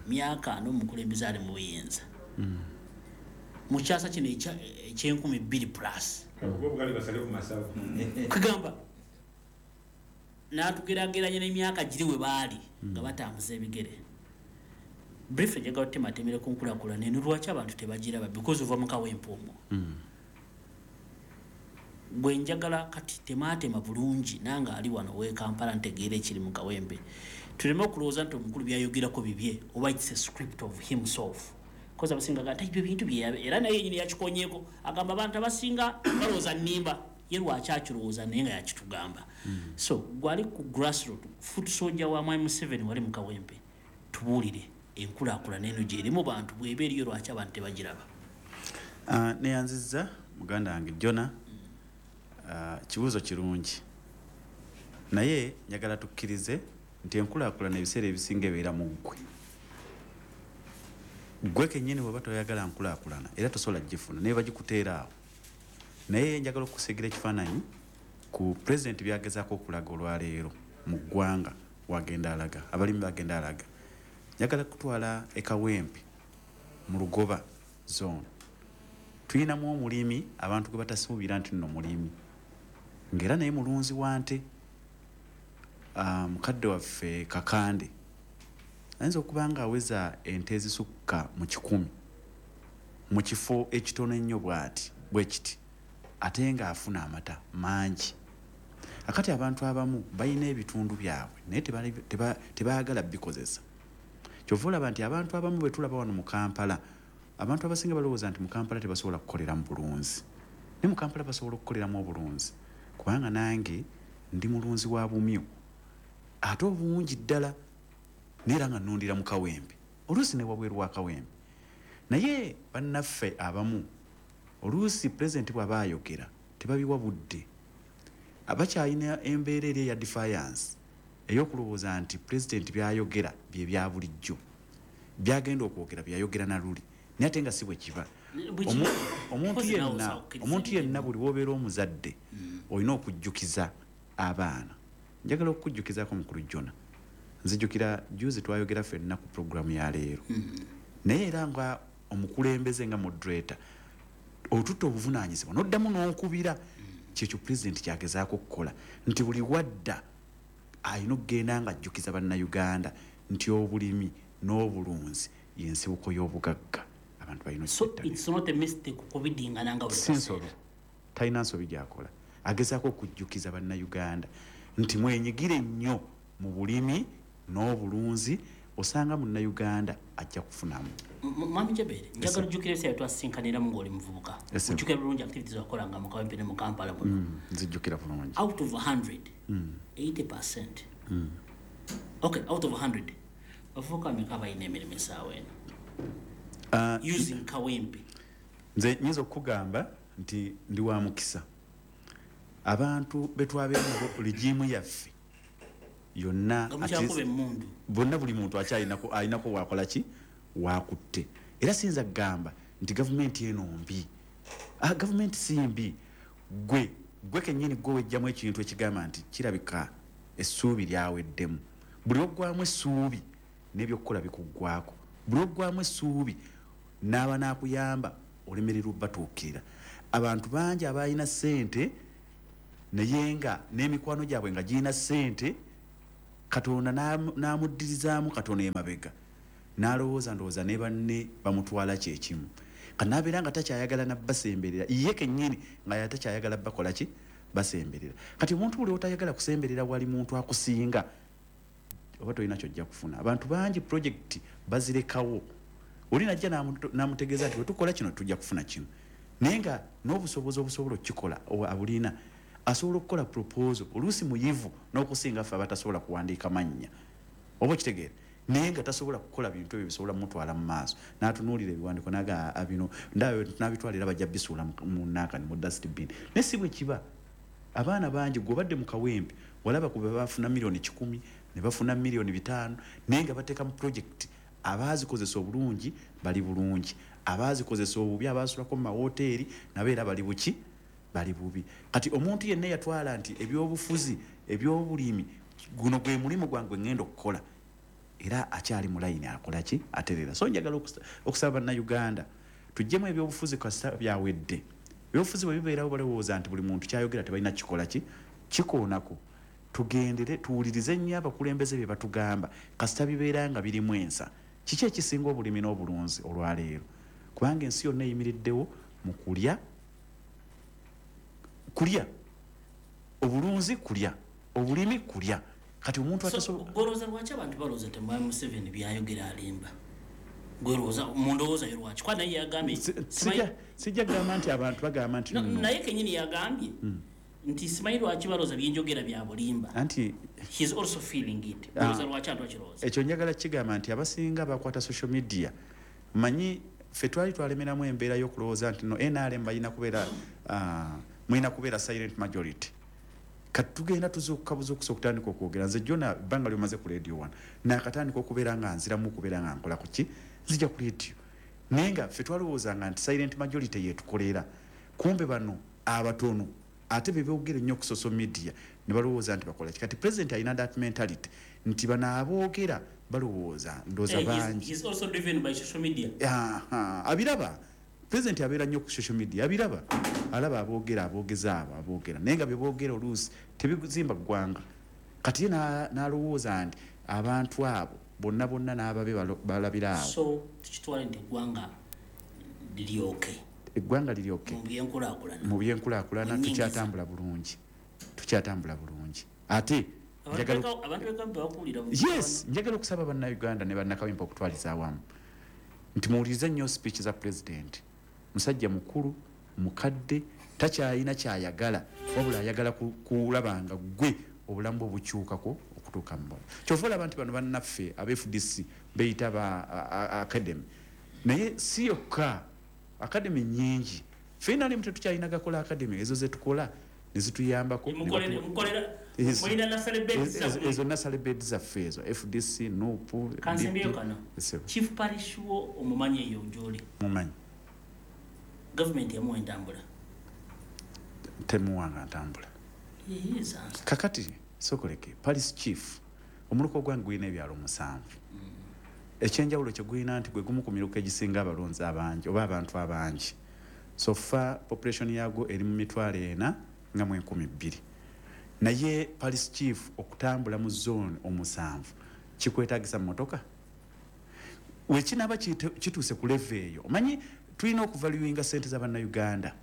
Myaka 40 omukulembeze ali mu buyinza, mu kyasa kino eky'enkumi bbiri plus. Obugali basale ku masavu. Kugamba n'atugerageranya n'emyaka giri we baali nga batambuza ebigere. Brief, njagala otematemere ku nkulaakulana eno, lwaki abantu tebagiraba? Because ova mu Kawempe omwo. Bwe njagala kati temaatema bulungi nange ali wano w'e Kampala ntegeera ekiri mu Kawempe, tuleme okulowooza nti omukulu byayogerako bibye oba it's a script of himself, 'cause abasinga gamba ebyo bintu bye, era naye yenyini yakikonyeeko, agamba abantu abasinga balowooza nnimba. Ye lwaki akirowooza naye nga yakitugamba? So gwali ku grassroot, foot soldier wa Mwami Museveni, wali mu Kawempe, tubuulire enkulaakulana eno gyeri mu bantu, bw'eba eriyo, lwaki abantu tebagiraba? Neyanzizza muganda wange Jona. Kibuuzo kirungi, naye njagala tukkirize nti enkulaakulana ebiseera ebisinga ebeera mu ggwe, ggwe kennyini. Bw'oba toyagala nkulaakulana era tosobola gifuna, naye bagikuteera awo. Naye njagala okusigira ekifaananyi ku pulezidenti byagezaako okulaga olwaleero mu ggwanga, wagenda alaga abalimi, bagenda alaga. Njagala kutwala e Kawempe mu Lugoba Zone. Tulinamu omulimi abantu gwe batasuubira nti nno mulimi, ng'era naye mulunzi wa nte. Mukadde waffe Kakande ayinza okuba nga aweza ente ezisukka mu 100 mu kifo ekitono ennyo bw'ati bwe kiti, ate ng'afuna amata mangi. Akati abantu abamu balina ebitundu byabwe naye tebaagala bikozesa. Kyova olaba nti abantu abamu bwe tulaba wano mu Kampala, abantu abasinga balowooza nti mu Kampala tebasobola kukoleramu bulunzi, naye mu Kampala basobola okukoleramu obulunzi, kubanga nange ndi mulunzi wa bumyu ate obungi ddala, neera nga nnundira mu Kawempe, oluusi ne wabweru wa Kawempe. Naye bannaffe abamu oluusi pulezidenti bw'aba ayogera tebabiwa budde, abakyalina embeera eri eya defiance, ey'okulowooza nti pulezidenti byayogera bye bya bulijjo, byagenda okwogera byayogera na luli, naye ate nga si bwe kiba. Omuntu yenna buli wobeera omuzadde olina okujjukiza abaana. Njagala okukujjukizaako, mukulu Jona, nzijukira juzi twayogera ffenna ku puroguramu ya leero, naye era nga omukulembeze, nga moderator, otutta obuvunaanyizibwa n'oddamu n'okubira. Kyekyo pulezidenti kyagezaako okukola, nti buli wadda alina okugenda nga ajjukiza Bannayuganda nti obulimi n'obulunzi yensibuko y'obugagga, abantu balina. So it's not a mistake okubidingana nga buli Si nsobi, talina nsobi gyakola. Agezaako okujjukiza Bannayuganda nti mwenyigire nnyo mu bulimi n'obulunzi, osanga Munnayuganda ajja kufunamu. Mwami Jabere, njagala ojjukira ebiseera twasinkaniramu ng'oli muvubuka. Yes, sir. Ojjukira bulungi activities wakolanga mu Kawempe ne mu Kampala muno? Nzijjukira bulungi. Out of 100, 80%, okay, out of 100, bavubuka bameka balina emirimu essaawa eno using Kawempe? Nze nyinza okukugamba nti ndi wa mukisa. Abantu betwabeera nabo, regime yaffe yonna, Nga mukyakuba emmundu. Bonna, buli muntu akyalinako, alinako wakola ki wakutte. Era siyinza kugamba nti gavumenti eno mbi. Gavumenti si mbi. Gwe kennyini gwe wejjamu ekintu ekigamba nti kirabika essuubi lyaweddemu. Buli oggwamu essuubi n'ebyokukola bikuggwako. Buli oggwamu essuubi n'aba n'akuyamba olemererwa obbatuukirira. Abantu bangi abalina ssente naye nga n'emikwano gyabwe nga girina ssente, Katonda n'amuddirizaamu katono emabega n'alowooza ndowooza ne banne bamutwala kyekimu. Kanaabeera nga takyayagala nabbasemberera, ye kennyini nga yatakyayagala bakola ki? Basemberera. Kati omuntu buli otayagala kusemberera wali muntu akusinga oba tolina kyojja kufuna. Abantu bangi projekiti bazirekawo. Oli najja n'amutegeeza nti bwe tukola kino tujja kufuna kino, naye nga n'obusobozi obusobola okukikola abulina. Asobola okukola proposal oluusi muyivu n'okusinga ffe abatasobola kuwandiika mannya, oba okitegeera, naye nga tasobola kukola bintu ebyo bisobola mutwala mu maaso. N'atunuulira ebiwandiiko n'agamba bino n'abitwala era bajja bisuula mu naakani mu dustbin. Naye si bwe kiba. Abaana bangi gwe obadde mu Kawempe walaba ku be bafuna 100,000 million ne bafuna 5 million, naye nga bateeka mu projekiti. Abaazikozesa obulungi bali bulungi, abaazikozesa obubi abaasulako mu mawoteeri nabo era bali buki? Bali bubi. Kati omuntu yenna yatwala nti ebyobufuzi, ebyobulimi, guno gwe mulimu gwange ngenda okukola, era akyali mu layini akola ki? Aterera. So njagala okusaba Bannayuganda tuggyemu ebyobufuzi kasita byawedde. Ebyobufuzi bwe bibeerawo balowooza nti buli muntu kyayogera tebalina kikola ki? Kikoonako. Tugendere tuwulirize nnyo abakulembeze bye batugamba kasita bibeera nga birimu ensa. Kiki ekisinga obulimi n'obulunzi olwaleero? Kubanga ensi yonna eyimiriddewo mu kulya, kulya, obulunzi kulya, obulimi kulya. Kati omuntu atasobola golooza lwaki abantu balowooza nti Mwami Museveni byayogera alimba? Gwelowooza mu ndowooza yo lwaki? Kuba naye yagambye sijja kugamba nti abantu bagamba nti naye kennyini yagambye nti simanyi lwaki balowooza byenjogera bya bulimba. Anti he is also feeling it. Golooza lwaki abantu bakirowooza? Ekyo njagala kigamba nti abasinga bakwata social media. Manyi ffe twali twalemeramu embeera y'okulowooza nti no NRM balina kubeera mulina kubeera silent majority. Kati tugenda tuzuukuka buzuukusi okutandika okwogera. Nze Jona ebbanga lyomaze ku Radio 1 naakatandika okubeera nga nziramu okubeera nga nkola ku ki? Nzija ku radio. Naye nga ffe twalowoozanga nti silent majority yeetukolera. Kumbe bano abatono ate be boogera ennyo ku social media ne balowooza nti bakola ki. Kati president alina that mentality nti bano aboogera balowooza ndowooza bangi. He is also driven by social media. Abiraba. President abeera nnyo ku social media, abiraba. Alaba aboogera, aboogeza abo aboogera, naye nga bye boogera oluusi tebizimba ggwanga. Kati ye n'alowooza nti abantu abo bonna bonna n'ababe balabira awo. So tukitwale nti eggwanga liryoke. Eggwanga liryoke mu byenkulaakulana. Mu byenkulaakulana tukyatambula bulungi. Tukyatambula bulungi. Ate yes, njagala okusaba Bannayuganda ne Bannakawempe okutwaliza awamu nti muwulirize nnyo speech za president. Musajja mukulu, mukadde, takyalina kyayagala, wabula ayagala kulaba nga ggwe obulamu bwe bukyukako okutuuka mu bulamu. Kyova olaba nti bano bannaffe aba FDC beyita ba academy, naye si yokka, academy nnyingi. Ffenna nalimu tetukyalina gakola academy, ezo ze tukola ne zituyambako. Ezo nasale bed zaffe ezo FDC, NUP. Kansembyeyo kano. Chief Parish wo omumanyi eyo gy'oli? Mumanyi. Gavumenti yamuwa entambula? Temuwanga ntambula. Kakati sokoleke Parish Chief omuluko gwange gulina ebyalo 7. Ekyenjawulo kye gulina nti gwe gumu ku miruka egisinga abalonzi abangi oba abantu abangi. So far population yagwo eri mu 402,000. Naye Parish Chief okutambula mu zone 7 kikwetaagisa mmotoka. Wekinaba kituuse ku level eyo, omanyi tulina okuvaluinga ssente za Bannayuganda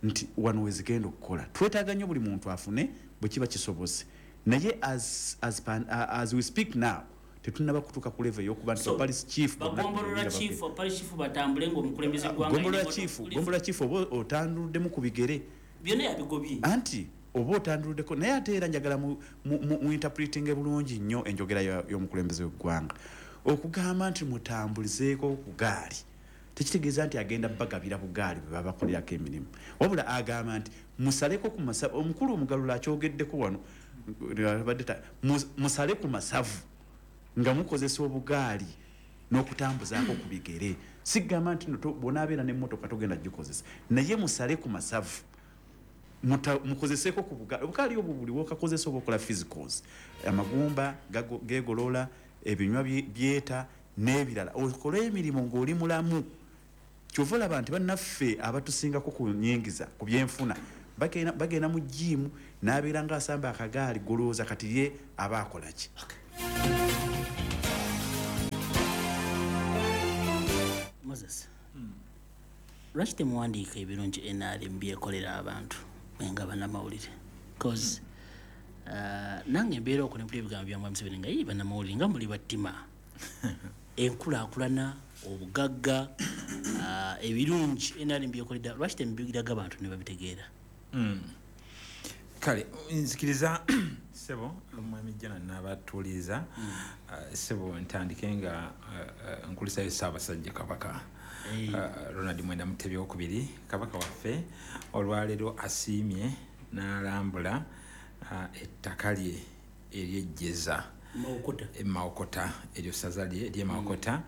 nti wano we zigenda okukola. Twetaaga nnyo buli muntu afune bwe kiba kisobose. Naye as we speak now tetunnaba kutuuka ku level ey'okuba nti Parish Chief bagombolola chief, Parish Chief batambule ng'omukulembeze gw'eggwanga. Gombolola chief oba otanduluddemu ku bigere. Byonna yabigobye. Anti oba otanduluddeko, naye ate era njagala mu interpreting bulungi nnyo enjogera y'omukulembeze w'eggwanga. Okugamba nti mutambulizeeko ku gaali tekitegeeza nti agenda bagabira bugaali bwe babakolerako emirimu, wabula agamba nti musaleko ku masavu. Omukulu Omugalula akyogeddeko wano, musale ku masavu nga mukozesa obugaali. N'okutambuzaako ku bigere. Sigamba nti bw'onaabeera n'emmotoka togenda gikozesa, naye musale ku masavu, mukozeseeko ku bugaali. Obugaali obwo buli wokakozesa oba okola physicals, amagumba geegolola, ebinywa byeta n'ebirala, okole emirimu ng'oli mulamu. Kyova olaba nti bannaffe abatusingako ku nyingiza ku byenfuna bagenda mu gym n'abeera ng'asamba akagaali, golowooza kati ye aba akola ki? Moses, lwaki temuwandiika ebirungi NRM byekolera abantu nga bannamawulire? Cause nange mbeera okwo nempulira ebigambo bya Mwami Museveni nga ye bannamawulire nga muli battima enkulaakulana, obugagga, ebirungi NRM byekoledde, lwaki temubigiraga abantu ne babitegeera? Kale nzikiriza ssebo omwami Jana n'abatuuliza. Ssebo ntandike nga nkulisayo Ssaabasajja Kabaka Ronald Mwenda Mutebi Owokubiri. Kabaka waffe olwaleero asiimye n'alambula ettaka lye ery'ejjeza Mawokota, eryo ssaza lye ery'e Mawokota.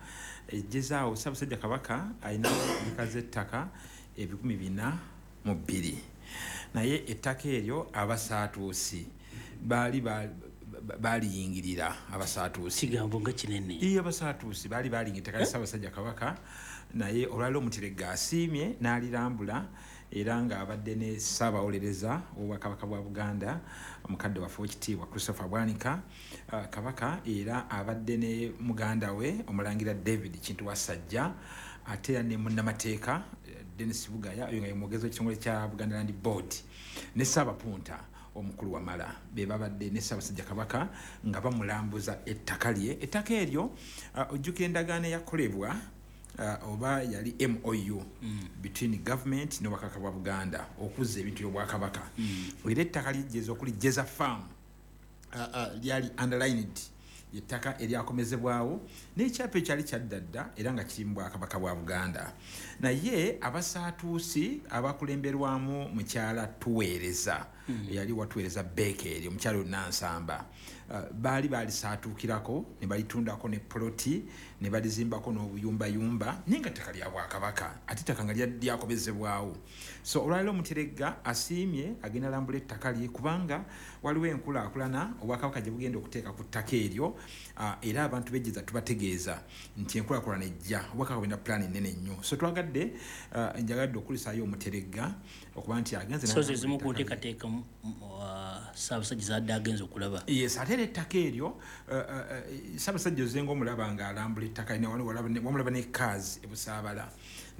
Ejjeza awo Ssaabasajja Kabaka alina eka z'ettaka 402, naye ettaka eryo abasaatuusi baali baliyingirira. Abasaatuusi kigambo nga kinene. Iye abasaatuusi baali baliyingira ettaka lya Ssaabasajja Kabaka, naye olwaleero Omuteregga asiimye n'alirambula, era ng'abadde ne Ssaabawolereza w'Obwakabaka bwa Buganda omukadde waffe ow'ekitiibwa Christopher Bwanika. Kabaka era abadde ne muganda we Omulangira David Kintu Wasajja, ate era ne munnamateeka Dennis Bugaya, oyo nga ye mwogezi w'ekitongole kya Buganda Land Board, ne Ssaabapunta omukulu Wamala, be babadde ne Ssaabasajja Kabaka nga bamulambuza ettaka lye. Ettaka eryo ojjukira endagaano eyakolebwa oba yali MOU between government n'Obwakabaka bwa Buganda okuzza ebintu by'Obwakabaka. Era ettaka ly'ejjeza okuli Jeza Farm lyali underlined, ettaka eryakomezebwawo n'ekyapa ekyali kyadda dda era nga kiri mu Bwakabaka bwa Buganda. Naye abasaatuusi abakulemberwamu mukyala Tuweereza, eyali watuweereza Beekeri, omukyala Nansamba, baali balisaatuukirako ne balitundako ne poloti ne balizimbako n'obuyumbayumba, naye nga ttaka lya Bwakabaka ate ettaka nga lyakomezebwawo. So olwaleero Omuteregga asiimye agenda alambula ettaka lye, kubanga waliwo enkulaakulana Obwakabaka gye bugenda okuteeka ku ttaka eryo. Era abantu b'ejjeza tubategeeza nti enkulaakulana ejja, Obwakabaka bulina pulaani nnene nnyo. So twagadde njagadde okulisaayo Omuteregga okuba nti agenze So ze zimu ku nteekateeka Ssaabasajja zadde agenze okulaba. Yes, ate era ettaka eryo Ssaabasajja ozenga omulaba ng'alambula ettaka, wamulaba ne kaazi e Busaabala,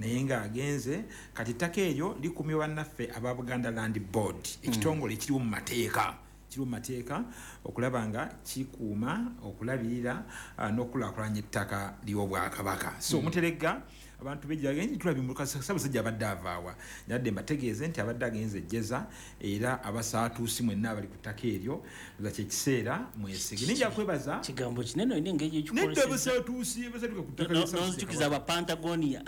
naye ng'agenze. Kati ettaka eryo likumibwa bannaffe aba Buganda Land Board, ekitongole ekiriwo mu mateeka, kiri mu mateeka okulaba nga kikuuma, okulabirira n'okukulaakulanya ettaka ly'Obwakabaka. So Omuteregga abantu bejja tulabye Ssaabasajja abadde avaawa, nyadde mbategeeze nti abadde agenze ejjeza, era abasaatuusi mwenna abali ku ttaka eryo za kyekiseera mwesige. Ninja kwebaza kigambo kinene olina engeri nedda abasaatuusi abasatuuka ku ttaka lya Ssaabasajja n'onzijukiza Abapantagonia.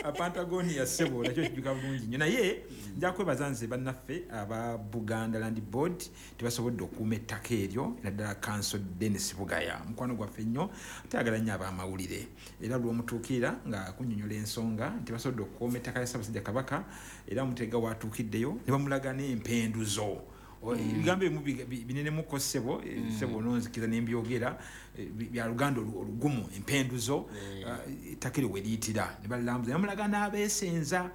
Apantagonia ssebo nakyo kijjuka bulungi nnyo. Naye nja kwebaza nze bannaffe aba Buganda Land Board tebasobodde okukuuma ettaka eryo, naddala Counsel Dennis Bugaya mukwano gwaffe nnyo, tayagala nnyo abamawulire, era lw'omutuukirira nga akunnyonnyola ensonga nti basobodde okukuuma ettaka lya Ssaabasajja Kabaka. Era Omuteregga watuukiddeyo ne bamulaga n'empenduzo. Ebigambo ebimu binenemuko ssebo, ssebo ononzikiza nembyogera bya Luganda olugumu, empenduzo ettaka eryo we liyitira ne balilambuza, ne bamulaga n'abeesenza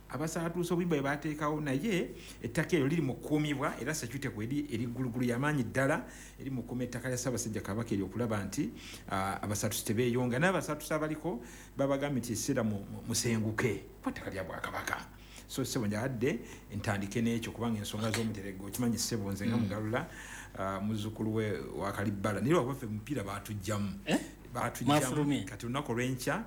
abasaatuusa obuyimba bwe bateekawo. Naye ettaka eryo liri mu kukuumibwa, era security kweri eri ggulugulu y'amaanyi ddala eri mu kukuuma ettaka lya Ssaabasajja Kabaka eryo, okulaba nti abasaatuusi tebeeyonga. N'abasaatuusi abaliko babagambye nti ekiseera musenguke kuba ttaka lya Bwakabaka. So ssebo njagadde ntandike n'ekyo kubanga ensonga z'Omuteregga okimanyi ssebo nze nga Mugalula muzzukulu we wa Kalibbala, naye lwabaffe mupiira baatugyamu Mwafulumye. Kati olunaku olw'enkya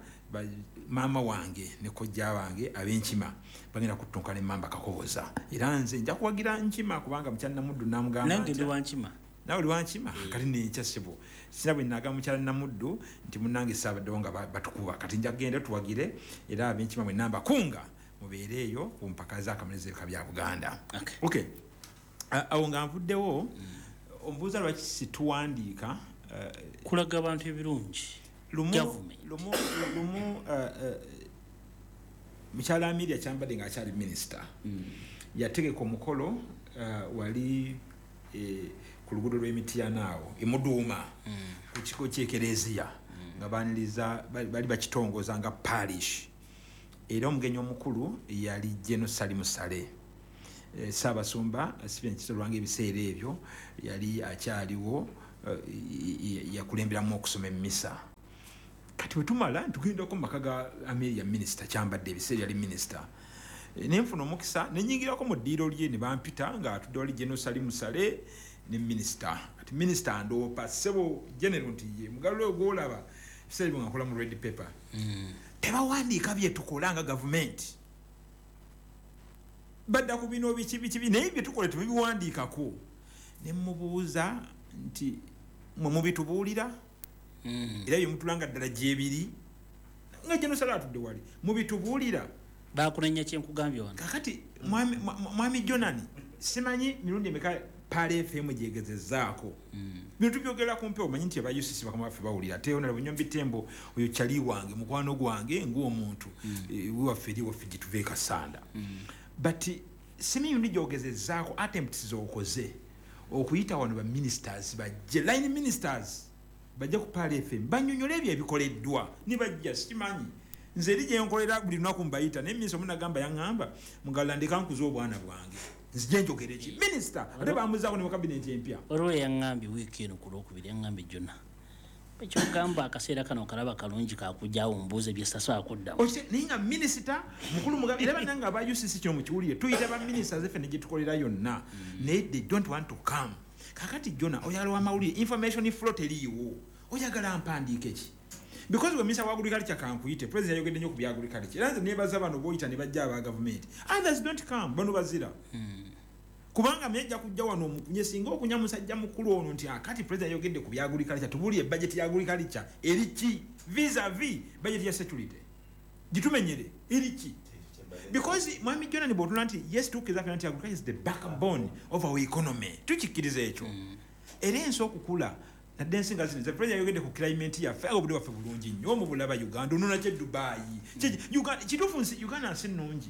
maama wange ne kojja wange ab'enkima bagenda kuttunka ne Mamba Kakoboza, era nze nja kuwagira Nkima kubanga mukyala Namuddu namugamba Nange ndi wa Nkima. Nawe oli wa Nkima? Kati nenkya ssebo sina bwe nagamba mukyala Namuddu nti munnange saabaddewo nga batukuba, kati nja kugenda tuwagire, era ab'enkima mwenna mbakunga mubeere eyo ku mpaka z'akamalirizo ebika bya Buganda. Okay. Awo nga nvuddewo, ombuuza lwaki situwandiika kulaga abantu ebirungi. Lumu mukyala Amelia Kyambadde ng'akyali minisita, yategeka omukolo wali ku luguudo lw'Emityana awo emuduuma ku kiko ky'ekereziya, nga baniriza bali bakitongoza nga parish. Era omugenyi omukulu yali General Salim Saleh, Ssaabasumba Stephen Kizito Lwanga. Ebiseera ebyo yali akyaliwo, yakulemberamu okusoma emmisa. Kati bwe tumala tugendako mu maka ga Amelia, minisita Kyambadde ebiseera yali minisita, nenfuna omukisa nenyingirako mu ddiiro lye ne bampita nga atudde wali General Salim Saleh ne minisita. Kati minisita andoopa, "Ssebo General," nti ye mugalulo oyo gwolaba ebiseera ebyo nga nkola mu Red Pepper. Tebawandiika byetukola nga gavumenti, badda ku bino biki biki, naye byetukola tebabiwandiikako. Ne mubuuza nti, "Mwe mubitubuulira era byemutulanga ddala gyebiri?" Nga General Saleh atudde wali, "Mubitubuulira?" Bakunenya kyenkugambye wano. Kakati mwami Jonani, simanyi mirundi emeka Pearl FM gyegezezaako bino tubyogera kumpe. Omanyi nti aba UCC bakama baffe bawulira, ate Honorable Nyombi Tembo oyo kyali wange, mukwano gwange ng'omuntu, wewaffe eri waffe gye tuva e Kasanda. But simanyi mirundi gyogezezaako, attempts z'okoze okuyita wano ba ministers bajje, line ministers bajje ku Pearl FM banyonyole ebyo ebikoleddwa, nibajja. Sikimanyi, nze eri gyenkolera buli lunaku mbayita, naye minisita omunagamba yaŋŋamba, "Mugala ndeka nkuze obwana bwange, nzije njogere ki?" Minisita ate bamuzaako ne mu kabineti empya. Waliwo eyaŋŋambye wiiki eno ku Lwokubiri, yaŋŋambye, "Jona, ekyogamba akaseera kano kalaba kalungi kakujjawo mbuuze byesasobola kuddamu." Naye nga minisita mukulu Mugabe era bannange aba UCC kino mukiwulire, tuyita ba ministers effe ne gyetukolera yonna, naye they don't want to come. Kakati Jona, oyagala wamawulire, information flow teriiwo, oyagala mpandiike ki? Because we minisita wa agriculture kankuyite, president yayogedde nnyo ku bya agriculture, era nze nebaza bano boyita ne bajja aba gavumenti, others don't come. Bano bazira kubanga myajja kujja wano omukunye singa okunya musajja mukulu ono nti akati president yayogedde ku bya agriculture, tubuulire budget ya agriculture eri ki vis-a-vis budget ya security, gitumenyere eri ki? Because mwami Jonani, bw'otula nti yes, tukkiriza ffenna nti agriculture is the backbone of our economy, tukikkiriza ekyo, era ensi okukula nadde ensi nga zino. President yayogedde ku climate yaffe, obudde bwaffe bulungi nnyo mubulaba. Uganda onona kye Dubai, kituufu nsi Uganda nsi nnungi,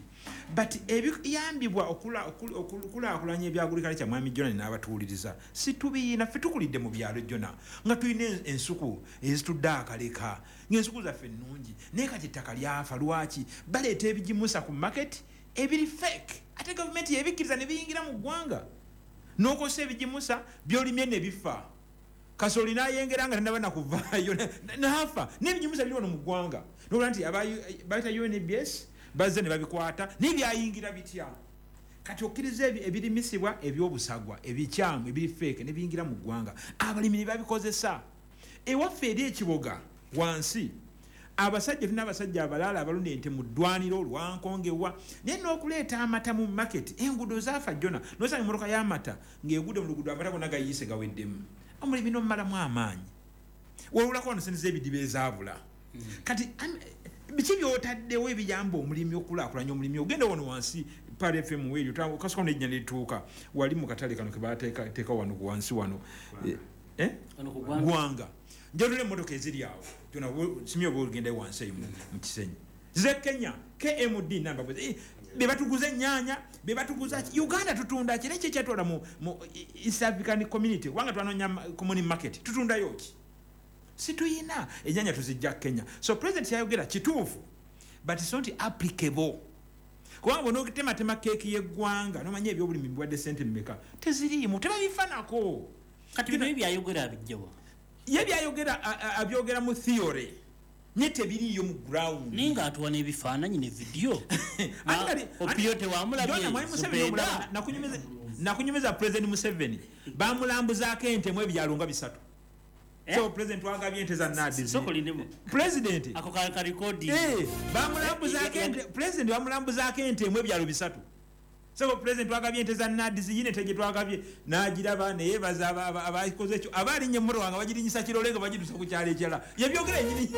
but ebiyambibwa okukulaakulanya ebyagriculture, mwami Jona n'abatuwuliriza, si tubiina. Ffe tukulidde mu byalo jona nga tulina ensuku ezitudde akaleka, ng'ensuku zaffe nnungi, naye kati ettaka lyafa. Lwaki baleeta ebigimusa ku market ebiri fake, ate gavumenti yebikkiriza ne biyingira mu ggwanga? N'okosa ebigimusa byolimye ne bifa, kasoli nayengera nga tanaba nakuvaayo nafa, n'ebigimusa biri wano mu ggwanga. Nokuba nti bayita UNBS bazze ne babikwata, naye byayingira bitya? Kati okkiriza ebirimisibwa ebyobusagwa ebikyamu ebiri fake ne biyingira mu ggwanga, abalimi ne babikozesa. Ewaffe eri ekiboga wansi, abasajja, tulina abasajja abalala abalunda ente mu ddwaniro lwankongewa, naye n'okuleeta amata mu market enguudo zaafa. Jona, nosanga emmotoka y'amata ng'egudde mu luguudo, amata gonna gayiise gaweddemu. Omulimi n'omumalamu amaanyi, wewulako wano sente z'ebidiba ezaabula. Kati biki byotaddewo ebiyamba omulimi okulaakulanya omulimi? Ogenda wano wansi Pearl FM weeryo, okasuka nejja nerituuka wali mu katale kano kebateeka wano wansi wano, Gwanga, njatula emmotoka eziri awo. Simye oba ogenda wansi eyo mu Kisenyi, ze Kenya KMD namba bebatuguza ennyanya, bebatuguza. Uganda tutunda ki? Nekyo ekyatwala mu East African Community, kubanga twanoonya common market. Tutundayo ki? Situyina ennyanya, tuzijja Kenya. So president yayogera kituufu, but it's not applicable, kubanga bw'onotematema keeki y'eggwanga nomanya ebyobulimi biwadde sente mmeka, teziriimu, tebabifanako. Kati bino byayogera abijjawa? Ye byayogera abyogera mu theory, naye tebiriiyo mu ground. Naye ng'atuwa n'ebifaananyi ne vidiyo. Opiyo tewamulabye. Nakunyumiza President Museveni bamulambuzaako ente mu ebyalo nga bisatu. So president wagabye ente za NAADS, president ako ka recording. Bamulambuzaako ente, president bamulambuzaako ente mu ebyalo bisatu. So president wagabye ente za NAADS, yine ente gye twagabye n'agiraba neyebaza abakoze ekyo, abalinnya emmotoka nga bagirinyisa kirole nga bagituusa ku kyalo ekirala. Yebyogera ennyini.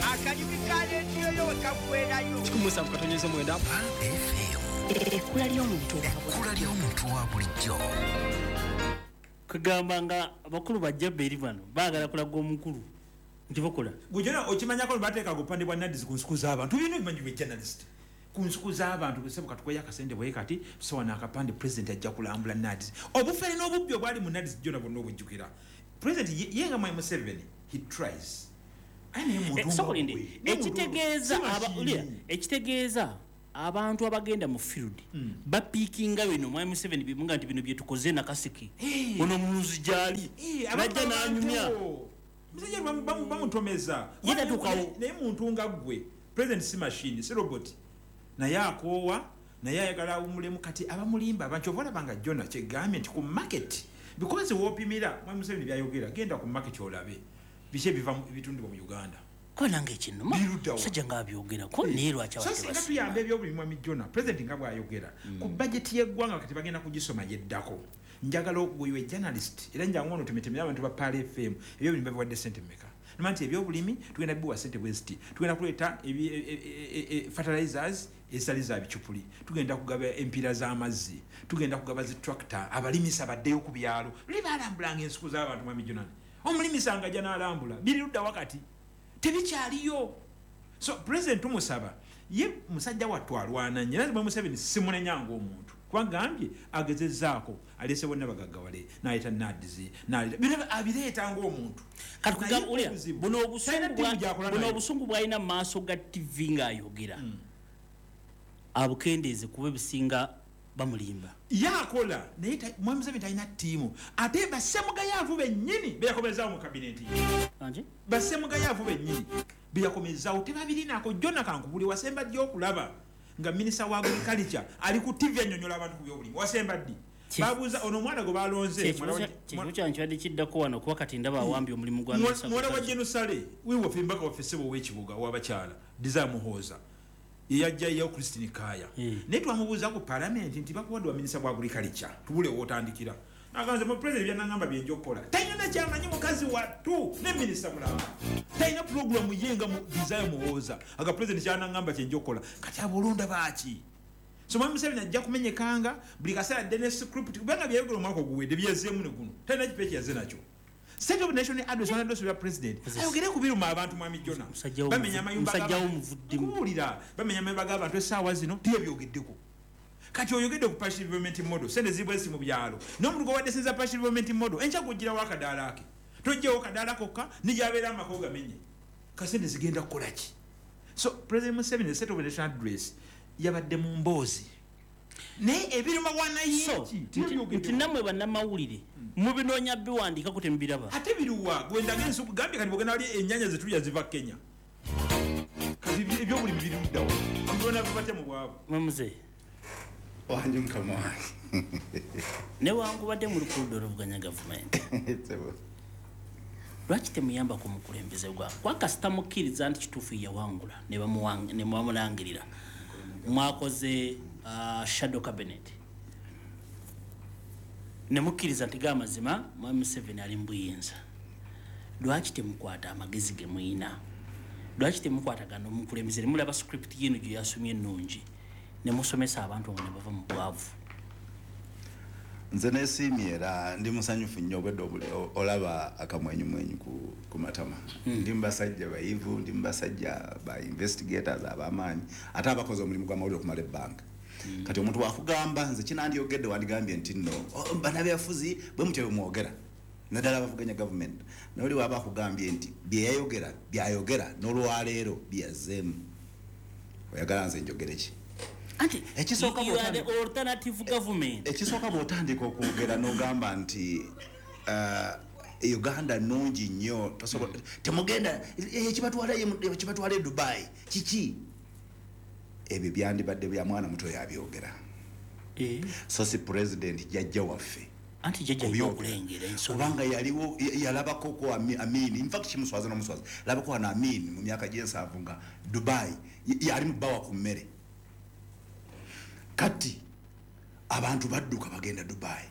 Akanyumi ka rediyo yo wekaggwerayo. 17.9. Ekkula ly'omuntu. Ekkula ly'omuntu wa bulijjo. Kugamba nga abakulu bajja beri bano baagala kulaga omukulu nti bakola. Gujona okimanyako bateeka gupande bwa NAADS ku nsuku z'abantu. Bino bimanyi bwe journalist. Ku nsuku z'abantu busebo katukoya akasente bwe kati tusowa n'akapande president ajja kulambula NAADS. Obufere n'obubbi obwali mu NAADS jona bonna obujjukira. President ye nga Mwami Museveni he tries. Ekitegeeza abantu abagenda mu field bapiikinga bino Mwami Museveni bimunga nti bino byetukoze nakasiki ono munuzi gyali najja n'anyumya musajja bamutomeza naye muntu nga ggwe president si machine si robot naye akoowa naye ayagala awummulemu. Kati abamulimba abantu oba olaba nga Jona kyegambye nti ku market because woopimira Mwami Museveni byayogera genda ku market olabe biki ebiva ebitundibwa mu Uganda. Ko nange ekinnuma musajja ng'abyogerako naye lwaki abantu singa tuyamba ebyobulimi Mwami Jona president nga bw'ayogera ku budget y'eggwanga kati bagenda kugisoma yeddako. Njagala okugoyiwa journalist era njangu ono temetemera abantu ba Pearl FM ebyobulimi babiwadde ssente mmeka. Noma nti ebyobulimi tugenda biwa ssente bwe ziti, tugenda kuleeta fertilizers ezitali za bicupuli, tugenda kugaba empiira z'amazzi, tugenda kugaba zi tractor abalimisa baddeyo ku byalo. Luli balambulanga ensuku z'abantu Mwami Jona. Omulimisa nga ajja n'alambula biri ludda wakati tebikyaliyo. So president tumusaba ye musajja wattu alwana nnyo era Museveni simunenya ng'omuntu kubagambye agezezzaako aleese bonna bagaggawale n'aleeta NAADS n'aleeta abireeta ng'omuntu. Kati kugamba ulya buno obusungu bw'alina mu maaso ga TV ng'ayogera abukendeeze kuba ebisinga bamulimba. Yakola naye Mwami Museveni talina ttiimu ate bassemugayaavu bennyini beyakomezaawo mu kabineti ye. Bassemugayaavu bennyini beyakomezaawo tebabirinaako. Jona kankubuli wasemba ddi okulaba nga minisita wa agriculture ali ku TV annyonnyola abantu ku byobulimi? Wasemba ddi? Babuuza ono omwana gwe balonze ekibuuzo kyange kibadde kiddako wano kuba kati ndaba awambye omulimu gwa muwala wa Jenusale wiwaffe embaka waffe ssebo ow'ekibuga ow'abakyala Desire Muhooza yeyajjayo Christine Kaya. Naye twamubuuza ku palamenti nti bakuwadde wa minisita wa agriculture tubule w'otandikira. Naganze mu president byanangamba byenja okukola talina kyamanyi mukazi wattu ne minisita mulamba talina pulogulamu ye nga mu Desire Muhooza aga president kyanangamba kyenja okukola. Kati abolonda baaki? So Mwami Museveni ajja kumenyekanga buli kaseera adde ne script kubanga byayogera omwaka oguwedde byezeemu ne guno talina kipa ekyaze nakyo. State of Nation address one address ya president ayogere ku biruma abantu Mwami Jona bamenya amayumba kubuulira bamenya amayumba g'abantu essaawa zino tiyebyogeddeko. Kati oyogedde ku partial development model sente zibwesi mu byalo n'omuntu gwe sinza partial development model enkya gugirawo akadaala ake tojjewo kadaala kokka nigyabeera amaka ogamenye kasente zigenda kukola ki? So President Museveni state of Nation address yabadde mu mboozi naye ebiruma wanayingi nti nammwe bannamawulire mubinoonya biwandiikako temubiraba. Ate biruwa gwendaga ensuku gambye kati bwogenda wali ennyaanya zetulya ziva Kenya. Kati ebyobulimi biri luddawa bona bibatya mu bwavu. Mwamuze wange mukama wange newankubadde muli ku ludda oluvuganya gavumenti lwaki temuyamba ku mukulembeze gwa kuba kasita mukkiriza nti kituufu yawangula ne bamulangirira mwakoze shadow cabinet ne mukkiriza nti ga mazima Mwami Museveni ali mu buyinza. Lwaki temukwata amagezi ge muyina? Lwaki temukwatagana omukulembeze ne mulaba script yino gye yasomye ennungi ne musomesa abantu ne bava mu bwavu? Nze neesiimye era ndi musanyufu nnyo obwedde olaba akamwenyumwenyu ku matama. Ndi mu basajja bayivu, ndi mu basajja ba investigators ab'amaanyi ate abakoze omulimu gw'amawulire okumala ebbanga. Kati omuntu wakugamba nze kinandyogedde wandigambye nti nno bannabyafuzi bwe mutyo bwe mwogera naddala abavuganya gavumenti. Naye oli waba akugambye nti bye yayogera byayogera n'olwaleero byazzeemu, oyagala nze njogere ki? Ekisooka bw'otandika okwogera n'ogamba nti Uganda nnungi nnyo temugenda ekibatwala e Dubai kiki? Ebyo byandibadde bya mwana muto yabyogera. So si president jjajja waffe anti jjajja okulengera ensonga kubanga yaliwo yalabako ko Amin. In fact kimuswaza n'omuswaza labako wano Amin mu myaka gy'ensanvu nga Dubai yali mu bbawa ku mmere. Kati abantu badduka bagenda Dubai.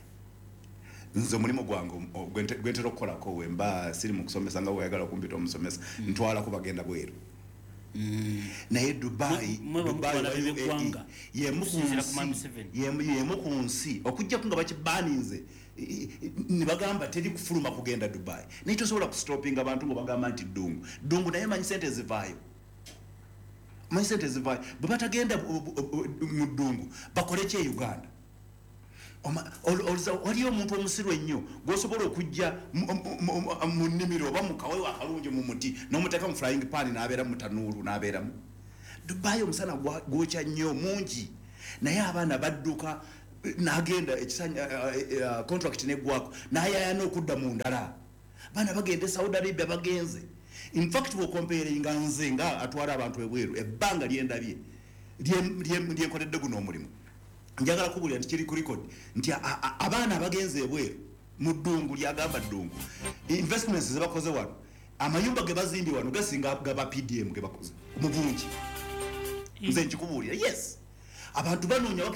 Nze omulimu gwange gwentera okukolako wemba siri mu kusomesa nga bweyagala okumpita omusomesa ntwalako bagenda bweru. Naye Dubai yemu ku nsi okujjako nga bakibaninze Ne bagamba teri kufuluma kugenda Dubai, naye tosobola kustopinga abantu nga bagamba nti ddungu ddungu, naye manyi sente zivaayo, manyi sente zivaayo. Bwe batagenda mu ddungu, bakole ki e Uganda? Waliyo omuntu omusiru ennyo gwosobola okujja mu nnimiro oba mu kawewo akalungi mu muti n'omuteeka mu frying pan n'abeera mu tanuulu n'abeeramu. Dubai omusana gwokya nnyo mungi, naye abaana badduka n'agenda ekisanya, contract neggwako, n'ayayana okudda mu ndala. Abaana bagenda e Saudi Arabia, bagenze. Infact, bw'ocomparinga nze nga atwala abantu ebweru, ebbanga lyendabye lyenkoledde guno omulimu, njagala kubulira nti kiri ku record nti abaana abagenze ebweru mu ddungu lyagamba ddungu, investments zebakoze wano, amayumba ge bazimbye wano gasinga gaba PDM ge bakoze mu bungi. Nze nkikubuulira, yes, abantu banoonya.